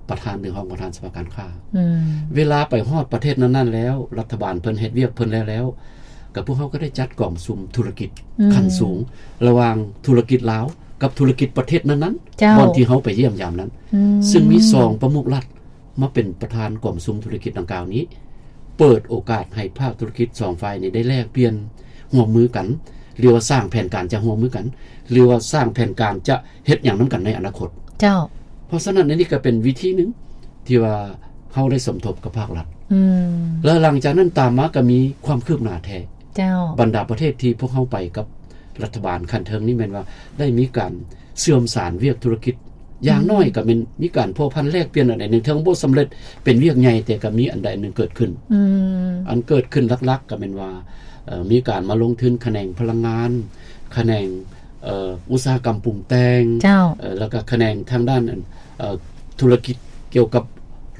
ປະທານ ຫຼື ຮອງປະທານສະພາການຄ້າ ອືມ ເວລາໄປຮອດປະເທດນັ້ນໆແລ້ວ ລັດຖະບານເພິ່ນເຮັດວຽກເພິ່ນແລ້ວໆ ກໍພວກເຮົາກໍໄດ້ຈັດກອງປະຊຸມທຸລະກິດ ອືມ ຂັ້ນສູງ ລະຫວ່າງທຸລະກິດລາວກັບທຸລະກິດປະເທດນັ້ນໆ ເຈົ້າ ບ່ອນທີ່ເຮົາໄປຢ້ຽມຢາມນັ້ນ ອືມ ຊຶ່ງມີສອງປະມຸກລັດມາເປັນປະທານກອງປະຊຸມທຸລະກິດດັ່ງກ່າວນີ້ ເປີດໂອກາດໃຫ້ພາກທຸລະກິດສອງຝ່າຍນີ້ໄດ້ແລກປ່ຽນຮ່ວມມືກັນ ຫຼືວ່າສ້າງແຜນການຈະຮ່ວມມືກັນ ຫຼືວ່າສ້າງແຜນການຈະ ເຮັດຫຍັງນຳກັນໃນອະນາຄົດ ເຈົ້າ ເພາະສະນັ້ນ ອັນນີ້ກໍເປັນວິທີໜຶ່ງທີ່ວ່າເຮົາໄດ້ສົມທົບກັບພາກລັດ ອືມ ແລະ ຫຼັງຈາກນັ້ນຕາມມາກໍມີຄວາມຄືບໜ້າແທ້ ເຈົ້າ ບັນດາປະເທດທີ່ພວກເຮົາໄປກັບລັດຖະບານຂັ້ນເທິງນີ້ ແມ່ນວ່າໄດ້ມີການເຊື່ອມສານວຽກທຸລະກິດ ຢ່າງ ອືມ ນ້ອຍກໍແມ່ນມີການພົວພັນແລກປ່ຽນອັນໃດໜຶ່ງ ເຖິງບໍ່ສຳເລັດເປັນວຽກໃຫຍ່ ແຕ່ກໍມີອັນໃດອັນໜຶ່ງເກີດຂຶ້ນ ອືມ ອັນເກີດຂຶ້ນຫຼັກໆກໍແມ່ນວ່າ ເອີ ມີການມາລົງທຶນຂະແໜງພະລັງງານ ຂະແໜງ ເອີ ອຸດສາຫະກຳປຸງແຕ່ງ ເຈົ້າ ເອີ ແລ້ວກໍຂະແໜງທາງດ້ານ ເອີ ທຸລະກິດກ່ຽວກັບ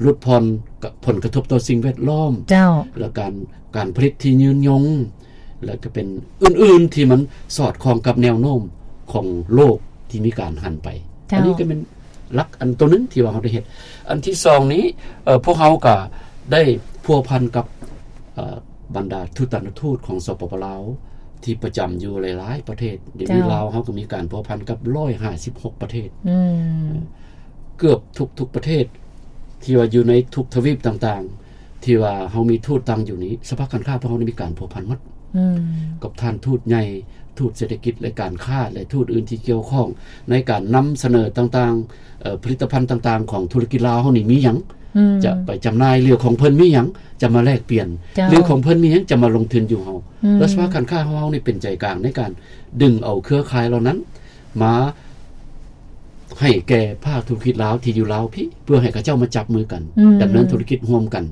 ຫຼຸດຜ່ອນ ກັບຜົນກະທົບຕໍ່ສິ່ງແວດລ້ອມ ເຈົ້າ ແລະ ການ ການຜະລິດທີ່ຍືນຍົງ ແລະ ກໍເປັນອື່ນໆທີ່ມັນສອດຄ່ອງກັບແນວໂນ້ມຂອງໂລກທີ່ມີການຫັນໄປ ເຈົ້າ ອັນນີ້ກໍແມ່ນ ຫຼັກອັນຕົວໜຶ່ງທີ່ວ່າເຮົາໄດ້ເຮັດ. ອັນທີສອງນີ້ ເອີ ພວກເຮົາກໍໄດ້ພົວພັນກັບ ເອີ ບັນດາທູດຕານຸທູດຂອງ ສປປ ລາວ ທີ່ປະຈຳຢູ່ຫຼາຍໆປະເທດ. ດຽວນີ້ ເຈົ້າ ລາວເຮົາກໍມີການພົວພັນກັບຮ້ອຍຫ້າສິບຫົກປະເທດ. ອືມ ເກືອບທຸກໆປະເທດ ທີ່ວ່າຢູ່ໃນທຸກທະວີບຕ່າງໆ ທີ່ວ່າເຮົາມີທູດຕັ້ງຢູ່ນີ້ ສະພາການຄ້າພວກເຮົານີ້ມີການພົວພັນໝົດ ອືມ ກັບທ່ານທູດໃຫຍ່ ທູດເສດຖະກິດ ແລະ ການຄ້າ ແລະ ທູດອື່ນທີ່ກ່ຽວຂ້ອງໃນການນຳສະເໜີຕ່າງໆ ເອີ ຜະລິດຕະພັນຕ່າງໆຂອງທຸລະກິດລາວເຮົານີ້ມີຫຍັງ ອືມ ຈະໄປຈຳໜ່າຍ ຫຼືຂອງເພິ່ນມີຫຍັງ ຈະມາແລກປ່ຽນ ເຈົ້າ ຫຼືຂອງເພິ່ນມີຫຍັງ ຈະມາລົງທຶນຢູ່ເຮົາ ອືມ ແລະ ສະພາການຄ້າຂອງເຮົານີ້ເປັນໃຈກາງໃນການດຶງເອົາເຄືອຂ່າຍເຫຼົ່ານັ້ນ ມາໃຫ້ແກ່ພາກທຸລະກິດລາວທີ່ຢູ່ລາວພີ້ ເພື່ອໃຫ້ເຂົາເຈົ້າມາຈັບມືກັນ ອືມ ດຳເນີນທຸລະກິດຮ່ວມກັນ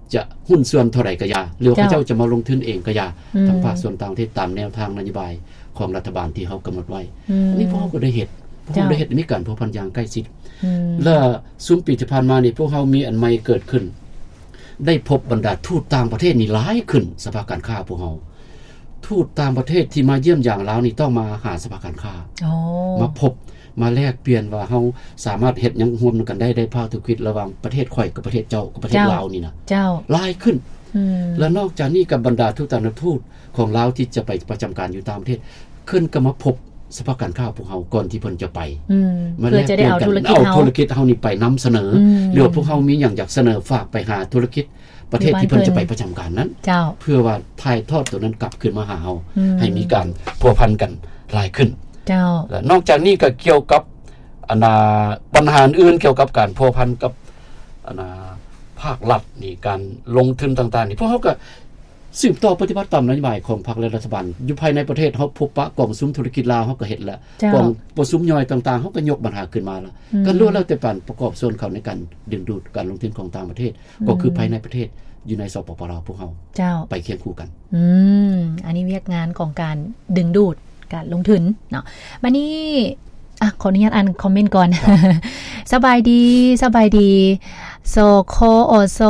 ຈະຫຸ້ນສ່ວນເທົ່າໃດກໍຢ່າ ຫຼືວ່າ ເຈົ້າ ເຂົາເຈົ້າຈະມາລົງທຶນເອງກໍຢ່າ ອືມ ທາງພາກສ່ວນຕ່າງປະເທດຕາມແນວທາງນະໂຍບາຍຂອງລັດຖະບານທີ່ເຮົາກຳນົດໄວ້ ອືມ ອັນນີ້ພວກເຮົາກໍໄດ້ເຮັດ ພວກເຮົາ ເຈົ້າ ໄດ້ເຮັດ ມີການພົວພັນຢ່າງໃກ້ຊິດ ອືມ ແລະ ຊຸມປີທີ່ຜ່ານມານີ້ ພວກເຮົາມີອັນໃໝ່ເກີດຂຶ້ນ ໄດ້ພົບບັນດາທູດຕ່າງປະເທດນີ້ຫຼາຍຂຶ້ນ ສະພາການຄ້າພວກເຮົາ ທູດຕ່າງປະເທດທີ່ມາຢ້ຽມຢາມລາວນີ້ຕ້ອງມາຫາສະພາການຄ້າ ອໍ ມາພົບ ມາແລກປ່ຽນວ່າເຮົາສາມາດເຮັດຫຍັງຮ່ວມນຳກັນໄດ້ ໃນພາກທຸລະກິດລະຫວ່າງປະເທດຂ້ອຍກັບປະເທດເຈົ້າ ກັບປະເທດ ເຈົ້າ ລາວນີ້ນະ ເຈົ້າ ຫຼາຍຂຶ້ນ ອືມ ແລະ ນອກຈາກນີ້ກັບບັນດາທູດຕ່າງປະເທດ ທູດຂອງລາວທີ່ຈະໄປປະຈຳການຢູ່ຕ່າງປະເທດ ເພິ່ນກໍມາພົບສະພາການຄ້າພວກເຮົາກ່ອນທີ່ເພິ່ນຈະໄປ ອືມ ມາແລກປ່ຽນກັນ ເພື່ອຈະໄດ້ເອົາທຸລະກິດ ເອົາທຸລະກິດເຮົານີ້ໄປນຳສະເໜີ ອືມ ຫຼືວ່າພວກເຮົາມີຫຍັງຢາກສະເໜີຝາກໄປຫາທຸລະກິດ ປະເທດທີ່ເພິ່ນຈະໄປປະຈຳການນັ້ນ ເຈົ້າ ເພື່ອວ່າຖ່າຍທອດໂຕນັ້ນກັບຄືນມາຫາເຮົາ ອືມ ໃຫ້ມີການພົວພັນກັນຫຼາຍຂຶ້ນ ເຈົ້າ ແລະ ນອກຈາກນີ້ກໍກ່ຽວກັບ ອັນນ່າ ບັນຫາອື່ນກ່ຽວກັບການພົວພັນກັບ ອັນນ່າ ພາກລັດນີ້ ການລົງທຶນຕ່າງໆນີ້ ພວກເຮົາກໍສືບຕໍ່ປະຕິບັດຕາມນະໂຍບາຍຂອງພັກ ແລະ ລັດຖະບານ ຢູ່ພາຍໃນປະເທດເຮົາ ພົບປະກອງປະຊຸມທຸລະກິດລາວ ເຮົາກໍເຮັດແລ້ວ ເຈົ້າ ກອງປະຊຸມຍ່ອຍຕ່າງໆ ເຮົາກໍຍົກບັນຫາຂຶ້ນມາແລ້ວ ອືມ ກໍລ້ວນແລ້ວແຕ່ການປະກອບສ່ວນເຂົ້າໃນການດຶງດູດການລົງທຶນຂອງຕ່າງປະເທດ ອືມ ກໍຄືພາຍໃນປະເທດ ຢູ່ໃນ ສປປ ລາວ ພວກເຮົາ ເຈົ້າ ໄປຄຽງຄູ່ກັນ ອືມ ອັນນີ້ວຽກງານຂອງການດຶງດູດການລົງທຶນເນາະ ບັດນີ້ ອ່ະ ຂໍອະນຸຍາດອ່ານຄອມເມັນກ່ອນ ສະບາຍດີ ສະບາຍດີ ສຄອສ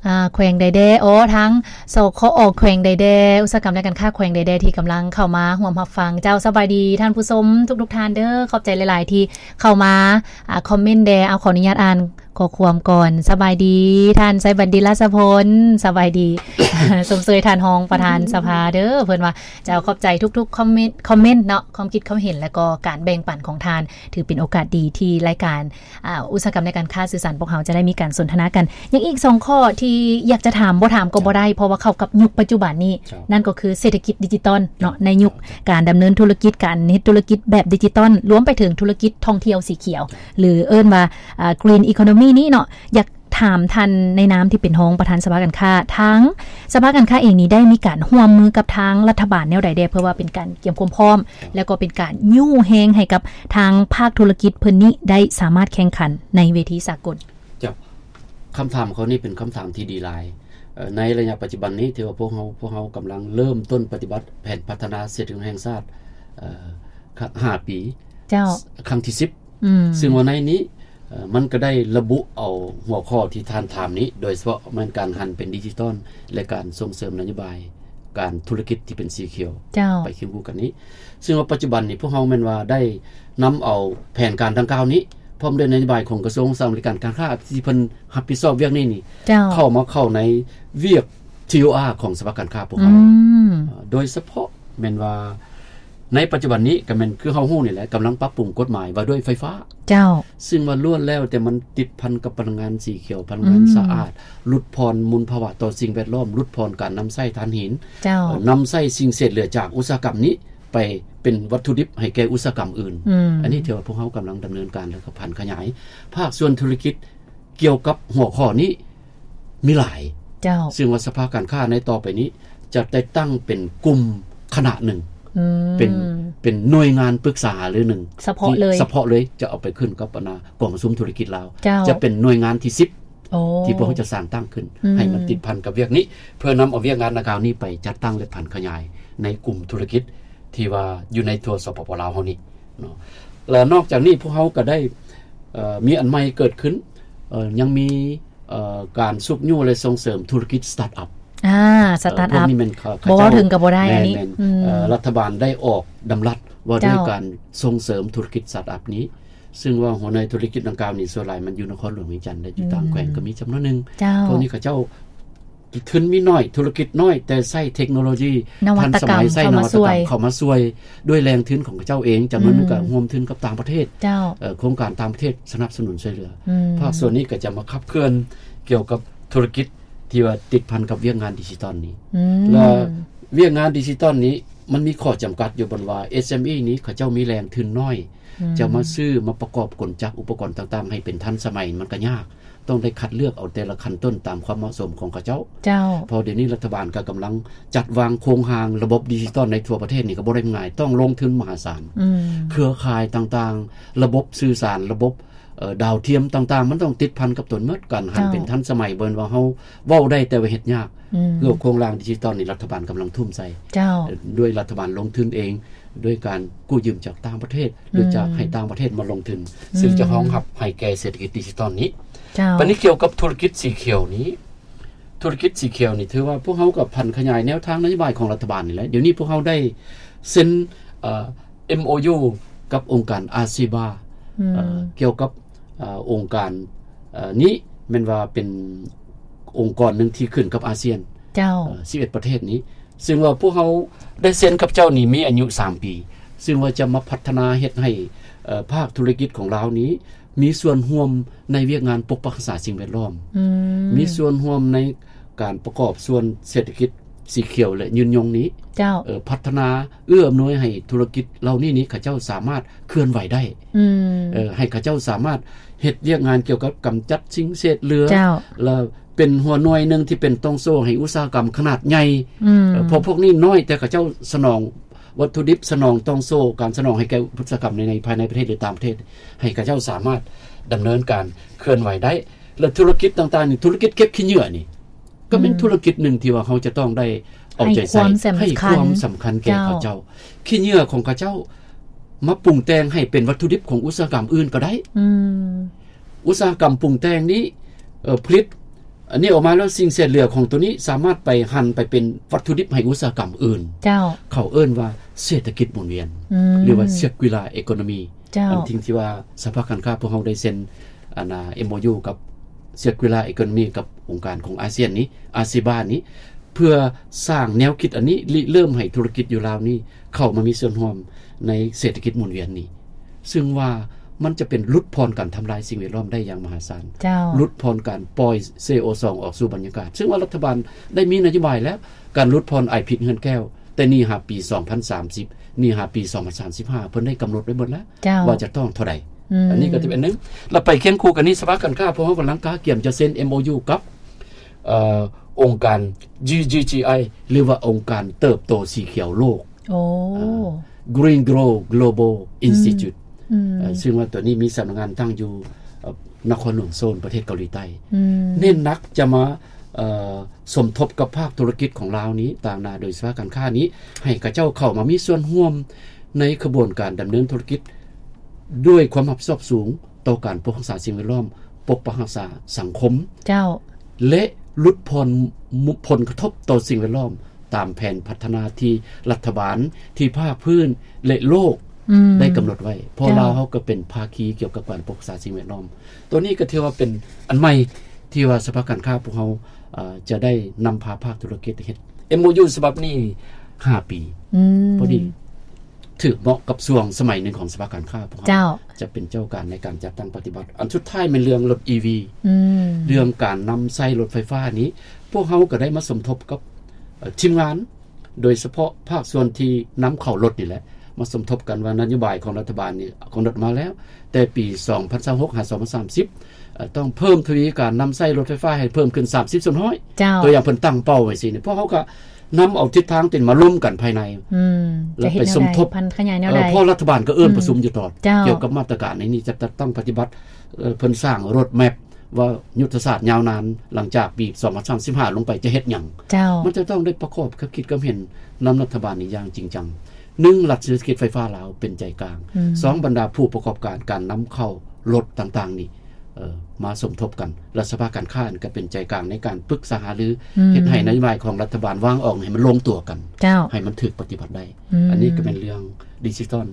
ອ່າ ແຂວງໃດແດ່ ອໍ ທາງ ສຄອ ແຂວງໃດແດ່ ອຸດສາຫະກຳ ແລະ ການຄ້າແຂວງໃດແດ່ ທີ່ກຳລັງເຂົ້າມາຮ່ວມຮັບຟັງ ເຈົ້າ ສະບາຍດີທ່ານຜູ້ຊົມທຸກໆທ່ານເດີ ຂອບໃຈຫຼາຍໆທີ່ເຂົ້າມາ ອ່າ ຄອມເມັນແດ່ ເອົາ ຂໍອະນຸຍາດອ່ານ ຂໍ້ຄວາມກ່ອນ ສະບາຍດີ ທ່ານໄຊບັນດິດ ລາຊະພົນ ສະບາຍດີ ຊົມເຊີຍທ່ານຮອງປະທານສະພາເດີ ເພິ່ນວ່າຈະເອົາຂອບໃຈທຸກໆຄອມເມັນ ຄອມເມັນເນາະ ຄວາມຄິດຄວາມເຫັນ ແລະ ກໍການແບ່ງປັນຂອງທ່ານ ຖືເປັນໂອກາດດີທີ່ລາຍການ ອ່າ ອຸດສາຫະກຳ ແລະ ການຄ້າສື່ສານພວກເຮົາຈະໄດ້ມີການສົນທະນາກັນ ຍັງອີກສອງຂໍ້ທີ່ຢາກຈະຖາມ ບໍ່ຖາມກໍບໍ່ໄດ້ ເຈົ້າ ເພາະວ່າເຂົ້າກັບຍຸກປັດຈຸບັນນີ້ ເຈົ້າ ນັ້ນກໍຄືເສດຖະກິດດິຈິຕອນເນາະ ເຈົ້າ ໃນຍຸກ ເຈົ້າ ການດຳເນີນທຸລະກິດ ການເຮັດທຸລະກິດແບບດິຈິຕອນ ລວມໄປເຖິງທຸລະກິດທ່ອງທ່ຽວສີຂຽວ ເຈົ້າ ຫຼືເອີ້ນວ່າ ອ່າ Green Economy ນີ້ເນາະ ຢາກຖາມທ່ານໃນນາມທີ່ເປັນຮອງປະທານສະພາການຄ້າ ທາງສະພາການຄ້າເອງນີ້ໄດ້ມີການຮ່ວມມືກັບທາງລັດຖະບານແນວໃດແດ່ ເພື່ອວ່າເປັນການກຽມຄວາມພ້ອມ ເຈົ້າ ແລ້ວກໍເປັນການຍູ້ແຮງໃຫ້ກັບທາງພາກທຸລະກິດເພິ່ນນີ້ໄດ້ສາມາດແຂ່ງຂັນໃນເວທີສາກົນ? ເຈົ້າ ຄຳຖາມຂໍ້ນີ້ເປັນຄຳຖາມທີ່ດີຫຼາຍ. ເອີ ໃນໄລຍະປັດຈຸບັນນີ້ ຖືວ່າພວກເຮົາ ພວກເຮົາກຳລັງເລີ່ມຕົ້ນປະຕິບັດແຜນພັດທະນາເສດຖະກິດແຫ່ງຊາດ ເອີ ຫ້າປີ ເຈົ້າ ຄັ້ງທີສິບ ອືມ ຊຶ່ງວ່າໃນນີ້ ເອີ ມັນກໍໄດ້ລະບຸເອົາຫົວຂໍ້ທີ່ທ່ານຖາມນີ້ ໂດຍສະເພາະແມ່ນການຫັນເປັນດິຈິຕອນ ແລະ ການສົ່ງເສີມນະໂຍບາຍການທຸລະກິດທີ່ເປັນສີຂຽວ ເຈົ້າ ໄປຄຽງຄູ່ກັນນີ້ ຊຶ່ງວ່າປັດຈຸບັນນີ້ພວກເຮົາແມ່ນວ່າໄດ້ນຳເອົາແຜນການດັ່ງກ່າວນີ້ ພ້ອມດ້ວຍນະໂຍບາຍຂອງກະຊວງສະຫະຫະລັດ ການຄ້າ ທີ່ເພິ່ນຮັບຜິດຊອບວຽກນີ້ນີ້ ເຈົ້າ ເຂົ້າມາເຂົ້າໃນວຽກ ທີໂອອາ ຂອງສະພາການຄ້າພວກເຮົາ ອືມ ໂດຍສະເພາະແມ່ນວ່າໃນປັດຈຸບັນນີ້ກໍແມ່ນຄືເຮົາຮູ້ນີ້ແຫຼະ ກຳລັງປັບປຸງກົດໝາຍວ່າດ້ວຍໄຟຟ້າ ເຈົ້າ ຊຶ່ງວ່າລ້ວນແລ້ວແຕ່ມັນຕິດພັນກັບພະລັງງານສີຂຽວ ພະລັງງານ ອືມ ສະອາດ ຫຼຸດຜ່ອນມົນພາວະຕໍ່ສິ່ງແວດລ້ອມ ຫຼຸດຜ່ອນການນຳໃຊ້ຖ່ານຫີນ ເຈົ້າ ນຳໃຊ້ສິ່ງເສດເຫຼືອຈາກອຸດສາຫະກຳນີ້ ໄປເປັນວັດຖຸດິບໃຫ້ແກ່ອຸດສາຫະກຳອື່ນ ອືມ ອັນນີ້ຖືວ່າພວກເຮົາກຳລັງດຳເນີນການ ແລ້ວກໍຜັນຂະຫຍາຍ ພາກສ່ວນທຸລະກິດກ່ຽວກັບຫົວຂໍ້ນີ້ມີຫຼາຍ ເຈົ້າ ຊຶ່ງວ່າສະພາການຄ້າໃນຕໍ່ໄປນີ້ຈະໄດ້ຕັ້ງເປັນກຸ່ມຄະນະໜຶ່ງ ອືມ ເປັນ ເປັນໜ່ວຍງານປຶກສາຫາລືໜຶ່ງ ສະເພາະເລີຍ ສະເພາະເລີຍ ຈະເອົາໄປຂຶ້ນກັບ ອັນນ່າ ກອງປະຊຸມທຸລະກິດລາວ ເຈົ້າ ຈະເປັນໜ່ວຍງານທີສິບ ໂອ້ ທີ່ພວກເຮົາຈະສ້າງຕັ້ງຂຶ້ນ ອືມ ໃຫ້ມັນຕິດພັນກັບວຽກນີ້ ເພື່ອນຳເອົາວຽກງານດັ່ງກ່າວນີ້ໄປຈັດຕັ້ງ ແລະ ຜັນຂະຫຍາຍໃນກຸ່ມທຸລະກິດທີ່ວ່າຢູ່ໃນທົ່ວ ສປປ ລາວ ເຮົານີ້ເນາະ ແລະ ນອກຈາກນີ້ພວກເຮົາກໍໄດ້ ເອີ ມີອັນໃໝ່ເກີດຂຶ້ນ ເອີ ຍັງມີ ເອີ ການຊຸກຍູ້ ແລະ ສົ່ງເສີມທຸລະກິດສະຕາດອັບ ອາ ສະຕາດອັບ ເອີ ພວກນີ້ແມ່ນ ເຂົາ ເຂົາເຈົ້າ ບໍ່ເວົ້າເຖິງກໍບໍ່ໄດ້ ແມ່ນ ອັນນີ້ ແມ່ນ ອືມ ເອີ ລັດຖະບານໄດ້ອອກດຳລັດວ່າດ້ວຍ ເຈົ້າ ການສົ່ງເສີມທຸລະກິດສະຕາດອັບນີ້ ຊຶ່ງວ່າຫົວໜ່ວຍທຸລະກິດດັ່ງກ່າວນີ້ ສ່ວນຫຼາຍມັນຢູ່ນະຄອນຫຼວງວຽງຈັນ ແລະ ຢູ່ຕ່າງ ອືມ ແຂວງກໍມີຈຳນວນໜຶ່ງ ເຈົ້າ ພວກນີ້ເຂົາເຈົ້າ ທຶນມີໜ້ອຍ ທຸລະກິດນ້ອຍ ແຕ່ໃຊ້ເທັກໂນໂລຢີ ນະວັດຕະກຳ ທັນສະໄໝ ໃຊ້ນະວັດຕະກຳເຂົ້າມາຊ່ວຍ ເຂົ້າມາຊ່ວຍ ດ້ວຍແຫຼ່ງທຶນຂອງເຂົາເຈົ້າເອງ ຈຳນວນໜຶ່ງ ອືມ ກໍຮ່ວມທຶນກັບຕ່າງປະເທດ ເຈົ້າ ເອີ ໂຄງການຕ່າງປະເທດສະໜັບສະໜູນຊ່ວຍເຫຼືອ ອືມ ພາກສ່ວນນີ້ກໍຈະມາຂັບເຄື່ອນກ່ຽວກັບທຸລະກິດທີ່ວ່າຕິດພັນກັບວຽກງານດິຈິຕອນນີ້ ອືມ ແລະ ວຽກງານດິຈິຕອນນີ້ ມັນມີຂໍ້ຈຳກັດຢູ່ບ່ອນວ່າ ເອສເອັມອີ ນີ້ ເຂົາເຈົ້າມີແຫຼ່ງທຶນນ້ອຍ ອືມ ຈະມາຊື້ມາປະກອບກົນຈັກອຸປະກອນຕ່າງໆ ໃຫ້ເປັນທັນສະໄໝ ມັນກໍຍາກ ຕ້ອງໄດ້ຄັດເລືອກເອົາແຕ່ລະຂັ້ນຕົ້ນຕາມຄວາມເໝາະສົມຂອງເຂົາເຈົ້າ ເຈົ້າ ເພາະດຽວນີ້ລັດຖະບານກໍກຳລັງຈັດວາງໂຄງຮ່າງລະບົບດິຈິຕອນໃນທົ່ວປະເທດນີ້ກໍບໍ່ໄດ້ງ່າຍ ຕ້ອງລົງທຶນມະຫາສານ ອືມ ເຄືອຂ່າຍຕ່າງໆ ລະບົບສື່ສານ ລະບົບ ເອີ ດາວທຽມຕ່າງໆ ມັນຕ້ອງຕິດພັນກັບຕົນໝົດ ການຫັນ ເຈົ້າ ເປັນທັນສະໄໝ ບໍ່ແມ່ນວ່າເຮົາເວົ້າໄດ້ ແຕ່ວ່າເຮັດຍາກ ອືມ ຄືໂຄງຮ່າງດິຈິຕອນນີ້ລັດຖະບານກຳລັງທຸ່ມໃສ່ ເຈົ້າ ເອີ ດ້ວຍລັດຖະບານລົງທຶນເອງ ດ້ວຍການກູ້ຢືມຈາກຕ່າງປະເທດ ຫຼື ອືມ ຈາກໃຫ້ຕ່າງປະເທດມາລົງທຶນ ອືມ ຊຶ່ງຈະຮອງຮັບໃຫ້ແກ່ເສດຖະກິດດິຈິຕອນນີ້ ເຈົ້າ ບັດນີ້ກ່ຽວກັບທຸລະກິດສີຂຽວນີ້ ທຸລະກິດສີຂຽວນີ້ ຖືວ່າພວກເຮົາກໍຜັນຂະຫຍາຍແນວທາງນະໂຍບາຍຂອງລັດຖະບານນີ້ແຫຼະ ດຽວນີ້ພວກເຮົາໄດ້ເຊັນ ເອີ ເອັມໂອຢູ ກັບອົງການອາເຊບາ ອືມ ເອີ ກ່ຽວກັບ ເອີ ອົງການ ເອີ ນີ້ແມ່ນວ່າເປັນອົງກອນໜຶ່ງທີ່ຂຶ້ນກັບອາຊຽນ ເຈົ້າ ເອີ ສິບເອັດປະເທດນີ້ ຊຶ່ງວ່າພວກເຮົາໄດ້ເຊັນກັບເຈົ້ານີ້ມີອາຍຸສາມປີ ຊຶ່ງວ່າຈະມາພັດທະນາເຮັດໃຫ້ ເອີ ພາກທຸລະກິດຂອງລາວນີ້ ມີສ່ວນຮ່ວມໃນວຽກງານປົກປັກຮັກສາສິ່ງແວດລ້ອມ ອືມ ມີສ່ວນຮ່ວມໃນການປະກອບສ່ວນເສດຖະກິດສີຂຽວ ແລະ ຍືນຍົງນີ້ ເຈົ້າ ເອີ ພັດທະນາເອື້ອອຳນວຍໃຫ້ທຸລະກິດເຫຼົ່ານີ້ນີ້ ເຂົາເຈົ້າສາມາດເຄື່ອນໄຫວໄດ້ ອືມ ເອີ ໃຫ້ເຂົາເຈົ້າສາມາດເຮັດວຽກງານກ່ຽວກັບກຳຈັດສິ່ງເສດເຫຼືອ ເຈົ້າ ແລະ ເປັນຫົວໜ່ວຍໜຶ່ງທີ່ເປັນຕ່ອງໂສ້ໃຫ້ອຸດສາຫະກຳຂະໜາດໃຫຍ່ ອືມ ເອີ ເພາະພວກນີ້ນ້ອຍ ແຕ່ເຂົາເຈົ້າສະໜອງ ວັດຖຸດິບສະໜອງຕ່ອງໂສ້ ການສະໜອງໃຫ້ແກ່ອຸດສາຫະກຳໃນ ໃນພາຍໃນປະເທດ ຫຼື ຕ່າງປະເທດ ໃຫ້ເຂົາເຈົ້າສາມາດດຳເນີນການເຄື່ອນໄຫວໄດ້ ແລະ ທຸລະກິດຕ່າງໆນີ້ ທຸລະກິດເກັບຂີ້ເຫຍື້ອນີ້ ກໍເປັນ ອືມ ທຸລະກິດໜຶ່ງທີ່ວ່າເຮົາຈະຕ້ອງໄດ້ເອົາໃຈໃສ່ ໃຫ້ຄວາມສຳຄັນ ໃຫ້ຄວາມສຳຄັນແກ່ ເຈົ້າ ເຂົາເຈົ້າ ຂີ້ເຫຍື້ອຂອງເຂົາເຈົ້າມາປຸງແຕ່ງໃຫ້ເປັນວັດຖຸດິບຂອງອຸດສາຫະກຳອື່ນກໍໄດ້ ອືມ ອຸດສາຫະກຳປຸງແຕ່ງນີ້ ເອີ ຜະລິດ ອັນນີ້ອອກມາແລ້ວ ສິ່ງເສດເຫຼືອຂອງໂຕນີ້ສາມາດໄປຫັນໄປເປັນວັດຖຸດິບໃຫ້ອຸດສາຫະກຳອື່ນ ເຈົ້າ ເຂົາເອີ້ນວ່າເສດຖະກິດໝູນວຽນ ອືມ ຫຼືວ່າ Circular Economy ເຈົ້າ ອັນທີ່ ທີ່ວ່າສະພາການຄ້າພວກເຮົາໄດ້ເຊັນ ອັນນ່າ ເອັມໂອຢູ ກັບ Circular Economy ກັບອົງການຂອງອາຊຽນນີ້ ອາເຊບາ ນີ້ ເພື່ອສ້າງແນວຄິດອັນນີ້ ລິເລີ່ມໃຫ້ທຸລະກິດຢູ່ລາວນີ້ ເຂົ້າມາມີສ່ວນຮ່ວມໃນເສດຖະກິດໝູນວຽນນີ້ ຊຶ່ງວ່າມັນຈະເປັນຫຼຸດຜ່ອນການທຳລາຍສິ່ງແວດລ້ອມໄດ້ຢ່າງມະຫາສານ ເຈົ້າ ຫຼຸດຜ່ອນການປ່ອຍ ຊີໂອສອງ ອອກສູ່ບັນຍາກາດ ຊຶ່ງວ່າລັດຖະບານໄດ້ມີນະໂຍບາຍແລ້ວ ການຫຼຸດຜ່ອນໄອພິດເຮືອນແກ້ວ ແຕ່ນີ້ຫາປີສອງພັນສາມສິບ ນີ້ຫາປີສອງພັນສາມສິບຫ້າ ເພິ່ນໄດ້ກຳນົດໄວ້ໝົດແລ້ວ ເຈົ້າ ວ່າຈະຕ້ອງເທົ່າໃດ ອືມ ອັນນີ້ກໍຈະເປັນໜຶ່ງ ແລ້ວໄປຄຽງຄູ່ກັນນີ້ ສະພາການຄ້າພວກເຮົາກຳລັງກະກຽມຈະເຊັນ ເອັມໂອຢູ ກັບ ເອີ ອົງການ GGGI ຫຼືວ່າອົງການເຕີບໂຕສີຂຽວໂລກ ໂອ້ ເອີ Green Grow Global Institute ອືມ ເອີ ຊຶ່ງວ່າຕົວນີ້ມີສຳນັກງານຕັ້ງຢູ່ ເອີ ນະຄອນຫຼວງໂຊນ ປະເທດເກົາຫຼີໃຕ້ ອືມ ເນັ້ນໜັກຈະມາ ເອີ ສົມທົບກັບພາກທຸລະກິດຂອງລາວນີ້ ຕາງໜ້າໂດຍສະພາການຄ້ານີ້ ໃຫ້ເຂົາເຈົ້າເຂົ້າມາມີສ່ວນຮ່ວມໃນຂະບວນການດຳເນີນທຸລະກິດ ດ້ວຍຄວາມຮັບຜິດຊອບສູງຕໍ່ການປົກຮັກສາສິ່ງແວດລ້ອມ, ປົກປັກຮັກສາສັງຄົມ, ເຈົ້າ ແລະ ຫຼຸດຜ່ອນຜົນກະທົບຕໍ່ສິ່ງແວດລ້ອມ ຕາມແຜນພັດທະນາທີ່ລັດຖະບານ, ທີ່ພາກພື້ນ ແລະ ໂລກ ອືມ ໄດ້ກຳນົດໄວ້, ເພາະ ເຈົ້າ ລາວເຮົາກໍເປັນພາຄີກ່ຽວກັບການປົກຮັກສາສິ່ງແວດລ້ອມ. ຕົວນີ້ກໍຖືວ່າເປັນອັນໃໝ່ທີ່ວ່າສະພາການຄ້າພວກເຮົາ ເອີ ຈະໄດ້ນຳພາພາກທຸລະກິດເຮັດ ເອັມໂອຢູ ສະບັບນີ້ຫ້າປີ ອືມ ພໍດີ ຖືກເໝາະກັບຊ່ວງສະໄໝໜຶ່ງຂອງສະພາການຄ້າພວກເຮົາ ເຈົ້າ ຈະເປັນເຈົ້າການໃນການຈັດຕັ້ງປະຕິບັດ. ອັນສຸດທ້າຍແມ່ນເລື່ອງລົດ ອີ ວີ ອືມ ເລື່ອງການນຳໃຊ້ລົດໄຟຟ້ານີ້ ພວກເຮົາກໍໄດ້ມາສົມທົບກັບ ເອີ ທີມງານ ໂດຍສະເພາະພາກສ່ວນທີ່ນຳເຂົ້າລົດນີ້ແຫຼະ ມາສົມທົບກັນວ່ານະໂຍບາຍຂອງລັດຖະບານນີ້ກຳນົດມາແລ້ວ ແຕ່ປີສອງພັນຊາວຫົກ ຫາ ສອງພັນສາມສິບ ເອີ ຕ້ອງເພີ່ມທະວີການນຳໃຊ້ລົດໄຟຟ້າໃຫ້ເພີ່ມຂຶ້ນສາມສິບສ່ວນຮ້ອຍ ເຈົ້າ ຕົວຢ່າງເພິ່ນຕັ້ງເປົ້າໄວ້ຊີ້ນີ້ ພວກເຮົາກໍ ນຳເອົາທິດທາງເປັນມາລົມກັນພາຍໃນ ອືມ ແລ້ວໄປສົມທົບ ຈະເຮັດແນວໃດ ຜັນຂະຫຍາຍແນວໃດ ເອີ ເພາະລັດຖະບານກໍເອີ້ນ ອືມ ປະຊຸມຢູ່ຕອດ ເຈົ້າ ກ່ຽວກັບມາດຕະການໃນນີ້ ຈະ ຈະຕັ້ງປະຕິບັດ ເອີ ເພິ່ນສ້າງໂຣດແມັບວ່າຍຸດທະສາດຍາວນານ ຫຼັງຈາກປີສອງພັນສາມສິບຫ້າລົງໄປຈະເຮັດຫຍັງ ເຈົ້າ ມັນຈະຕ້ອງໄດ້ປະກອບຄຳຄິດຄຳເຫັນນຳລັດຖະບານນີ້ຢ່າງຈິງຈັງ. ໜຶ່ງ ລັດເສດຖະກິດໄຟຟ້າລາວເປັນໃຈກາງ ອືມ ສອງ ບັນດາຜູ້ປະກອບການ ການນຳເຂົ້າລົດຕ່າງໆນີ້ ເອີ ມາສົມທົບກັນ ແລະ ສະພາການຄ້າກໍເປັນໃຈກາງໃນການປຶກສາຫາລື ອືມ ເຮັດໃຫ້ນະໂຍບາຍຂອງລັດຖະບານວາງອອກໃຫ້ມັນລົງຕົວກັນ ເຈົ້າ ໃຫ້ມັນຖືກປະຕິບັດໄດ້ ອືມ ອັນນີ້ກໍແມ່ນເລື່ອງດິຈິຕອນ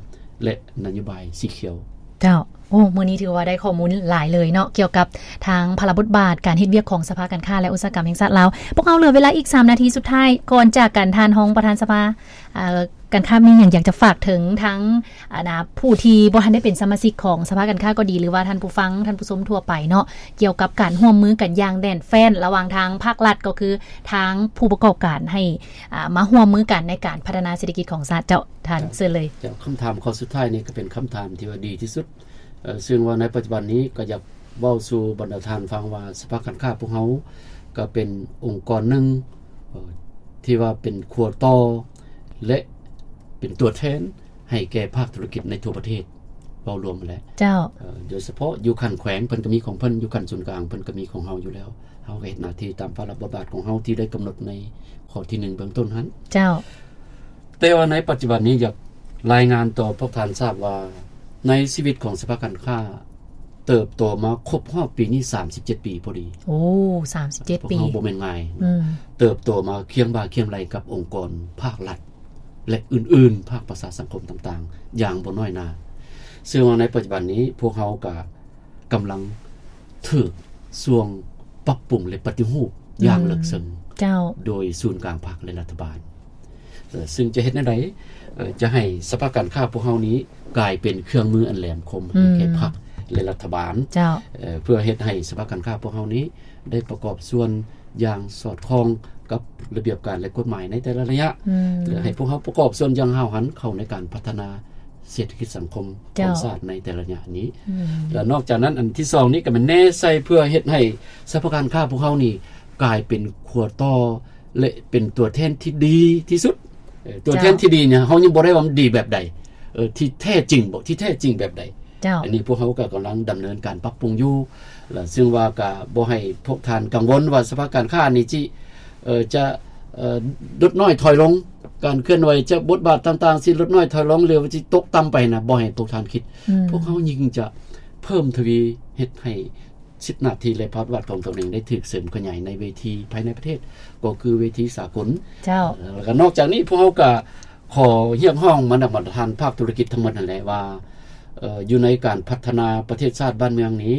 ແລະ ນະໂຍບາຍສີຂຽວ ເຈົ້າ ໂອ້ ມື້ນີ້ຖືວ່າໄດ້ຂໍ້ມູນຫຼາຍເລີຍເນາະ ກ່ຽວກັບທາງພາລະບົດບາດການເຮັດວຽກຂອງສະພາການຄ້າ ແລະ ອຸດສາຫະກຳແຫ່ງຊາດລາວ. ພວກເຮົາເຫຼືອເວລາອີກສາມນາທີສຸດທ້າຍ ກ່ອນຈາກກັນ ທ່ານຮອງປະທານສະພາ ເອີ ການຄ້າ ມີຫຍັງຢາກຈະຝາກເຖິງທາງ ອັນນາ ຜູ້ທີ່ບໍ່ທັນໄດ້ເປັນສະມາຊິກຂອງສະພາການຄ້າກໍດີ ຫຼືວ່າທ່ານຜູ້ຟັງ ທ່ານຜູ້ຊົມທົ່ວໄປເນາະ ກ່ຽວກັບການຮ່ວມມືກັນຢ່າງແໜ້ນແຟ້ນ ລະຫວ່າງທາງພາກລັດ ກໍຄືທາງຜູ້ປະກອບການ ໃຫ້ ອ່າ ມາຮ່ວມມືກັນໃນການພັດທະນາເສດຖະກິດຂອງຊາດ. ເຈົ້າ ທ່ານ ເຊີນເລີຍ. ເຈົ້າ ຄຳຖາມຂໍ້ສຸດທ້າຍນີ້ກໍເປັນຄຳຖາມທີ່ວ່າດີທີ່ສຸດ ເອີ ເຊິ່ງວ່າໃນປັດຈຸບັນນີ້ກໍຢາກເວົ້າສູ່ບັນດາທ່ານຟັງວ່າ ສະພາການຄ້າພວກເຮົາກໍເປັນອົງກອນໜຶ່ງ ເອີ ທີ່ວ່າເປັນຂົວຕໍ່ ແລະ ເປັນຕົວແທນໃຫ້ແກ່ພາກທຸລະກິດໃນທົ່ວປະເທດ ເວົ້າລວມຫັ້ນແຫຼະ. ເຈົ້າ. ເອີ ໂດຍສະເພາະຢູ່ຂັ້ນແຂວງເພິ່ນກໍມີຂອງເພິ່ນ ຢູ່ຂັ້ນສູນກາງເພິ່ນກໍມີຂອງເຮົາຢູ່ແລ້ວ ເຮົາກໍເຮັດໜ້າທີ່ຕາມພາລະບົດບາດຂອງເຮົາທີ່ໄດ້ກຳນົດໃນຂໍ້ທີໜຶ່ງເບື້ອງຕົ້ນຫັ້ນ. ເຈົ້າ. ແຕ່ວ່າໃນປັດຈຸບັນນີ້ຢາກລາຍງານຕໍ່ພວກທ່ານຊາບວ່າ ໃນຊີວິດຂອງສະພາການຄ້າເຕີບໂຕມາຄົບຮອບປີນີ້ສາມສິບເຈັດປີພໍດີ. ໂອ້ ສາມສິບເຈັດປີ ພວກເຮົາບໍ່ແມ່ນງ່າຍເນາະ. ອືມ. ເຕີບໂຕມາຄຽງບ່າຄຽງໄຫຼ່ກັບອົງກອນພາກລັດ ແລະ ອື່ນໆ ພາກປະຊາສັງຄົມຕ່າງໆ ຢ່າງບໍ່ນ້ອຍໜ້າ. ເຊິ່ງວ່າໃນປັດຈຸບັນນີ້ພວກເຮົາກະ ກຳລັງຖືກຊ່ວງປັບປຸງ ແລະ ປະຕິຮູບຢ່າງເລິກເຊິ່ງ ເຈົ້າ ໂດຍສູນກາງພັກ ແລະ ລັດຖະບານ ເຊິ່ງຈະເຮັດແນວໃດ ຈະໃຫ້ສະພາການຄ້າພວກເຮົານີ້ກາຍເປັນເຄື່ອງມືອັນແຫຼມຄົມໃຫ້ແກ່ພັກ ແລະ ລັດຖະບານ ເຈົ້າ ເພື່ອເຮັດໃຫ້ສະພາການຄ້າພວກເຮົານີ້ໄດ້ປະກອບສ່ວນຢ່າງສອດຄ່ອງກັບລະບຽບການ ແລະ ກົດໝາຍໃນແຕ່ລະໄລຍະ ແລະ ໃຫ້ພວກເຮົາປະກອບສ່ວນຢ່າງຫ້າວຫັນເຂົ້າໃນການພັດທະນາ ເສດຖະກິດສັງຄົມຂອງຊາດໃນແຕ່ລະໄລຍະນີ້ ແລະ ນອກຈາກນັ້ນ ອັນທີສອງນີ້ກໍແມ່ນແນໃສ່ເພື່ອເຮັດໃຫ້ສະພາການຄ້າພວກເຮົານີ້ກາຍເປັນຂົວຕໍ່ ແລະ ເປັນຕົວແທນທີ່ດີທີ່ສຸດ. ຕົວແທນທີ່ດີນີ້ ເຮົາຍັງບໍ່ໄດ້ວ່າມັນດີແບບໃດ ທີ່ແທ້ຈິງບໍ່ ທີ່ແທ້ຈິງແບບໃດ ເຈົ້າ ອັນນີ້ພວກເຮົາກໍກຳລັງດຳເນີນການປັບປຸງຢູ່ ແລະ ເຊິ່ງວ່າກໍບໍ່ໃຫ້ພວກທ່ານກັງວົນວ່າສະພາການຄ້ານີ້ຊິ ເອີ ຈະ ເອີ ຫຼຸດນ້ອຍຖອຍລົງ ການເຄື່ອນໄຫວຈະ ບົດບາດຕ່າງໆຊິຫຼຸດນ້ອຍຖອຍລົງ ຫຼືວ່າຊິຕົກຕ່ຳໄປນະ ບໍ່ໃຫ້ພວກທ່ານຄິດ ພວກເຮົາຍິ່ງຈະເພີ່ມທະວີເຮັດໃຫ້ສິດໜ້າທີ່ ແລະ ພາວະບັດຂອງຕົນເອງໄດ້ຖືກເສີມຂະຫຍາຍໃນເວທີພາຍໃນປະເທດ ກໍຄືເວທີສາກົນ ເຈົ້າ ແລ້ວກໍນອກຈາກນີ້ພວກເຮົາກໍຂໍຮຽກຮ້ອງມານຳບັນດາທ່ານພາກທຸລະກິດທັງໝົດນັ້ນແຫຼະວ່າ ເອີ ຢູ່ໃນການພັດທະນາປະເທດຊາດບ້ານເມືອງນີ້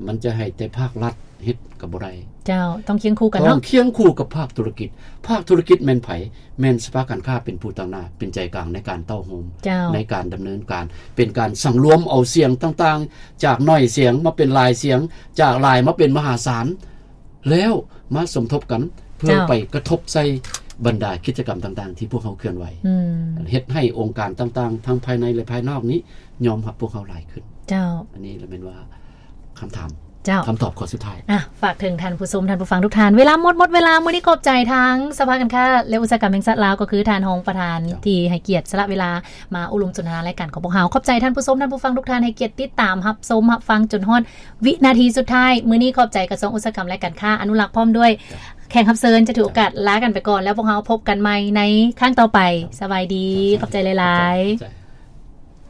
ມັນຈະໃຫ້ແຕ່ພາກລັດເຮັດກໍບໍ່ໄດ້ ເຈົ້າ ຕ້ອງຄຽງຄູ່ກັນເນາະ ຕ້ອງຄຽງຄູ່ກັບພາກທຸລະກິດ. ພາກທຸລະກິດແມ່ນໃຜ? ແມ່ນສະພາການຄ້າເປັນຜູ້ຕາງໜ້າ ເປັນໃຈກາງໃນການເຕົ້າໂຮມ ເຈົ້າ ໃນການດຳເນີນການ ເປັນການສັງລວມເອົາສຽງຕ່າງໆ ຈາກໜ້ອຍສຽງມາເປັນຫຼາຍສຽງ ຈາກຫຼາຍມາເປັນມະຫາສານ ແລ້ວມາສົມທົບກັນ ເພື່ອ ເຈົ້າ ໄປກະທົບໃສ່ບັນດາກິດຈະກຳຕ່າງໆ ທີ່ພວກເຮົາເຄື່ອນໄຫວ ອືມ ເຮັດໃຫ້ອົງການຕ່າງໆ ທັງພາຍໃນ ແລະ ພາຍນອກນີ້ຍອມຮັບພວກເຮົາຫຼາຍຂຶ້ນ ເຈົ້າ ອັນນີ້ລະແມ່ນວ່າຄຳຖາມ ເຈົ້າ ຄຳຕອບຂໍ້ສຸດທ້າຍ ອ່ະ ຝາກເຖິງທ່ານຜູ້ຊົມ ທ່ານຜູ້ຟັງທຸກທ່ານ ເວລາໝົດ ໝົດເວລາ. ມື້ນີ້ຂອບໃຈທາງສະພາການຄ້າ ແລະ ອຸດສາຫະກຳແຫ່ງຊາດລາວ ກໍຄືທ່ານຮອງປະທານ ເຈົ້າ ທີ່ໃຫ້ກຽດສະຫຼະເວລາມາໂອ້ລົມສົນທະນາລາຍການຂອງພວກເຮົາ. ຂອບໃຈທ່ານຜູ້ຊົມ ທ່ານຜູ້ຟັງທຸກທ່ານ ໃຫ້ກຽດຕິດຕາມຮັບຊົມຮັບຟັງຈົນຮອດ ວິນາທີສຸດທ້າຍ. ມື້ນີ້ຂອບໃຈກະຊວງອຸດສາຫະກຳ ແລະ ການຄ້າ ອະນຸລັກ ພ້ອມດ້ວຍແຂກຮັບເຊີນ ຈະຖືໂອກາດລາກັນໄປກ່ອນ ແລ້ວພວກເຮົາພົບກັນໃໝ່ໃນຄັ້ງຕໍ່ໄປ. ສະບາຍດີ ຂອບໃຈຫຼາຍໆ.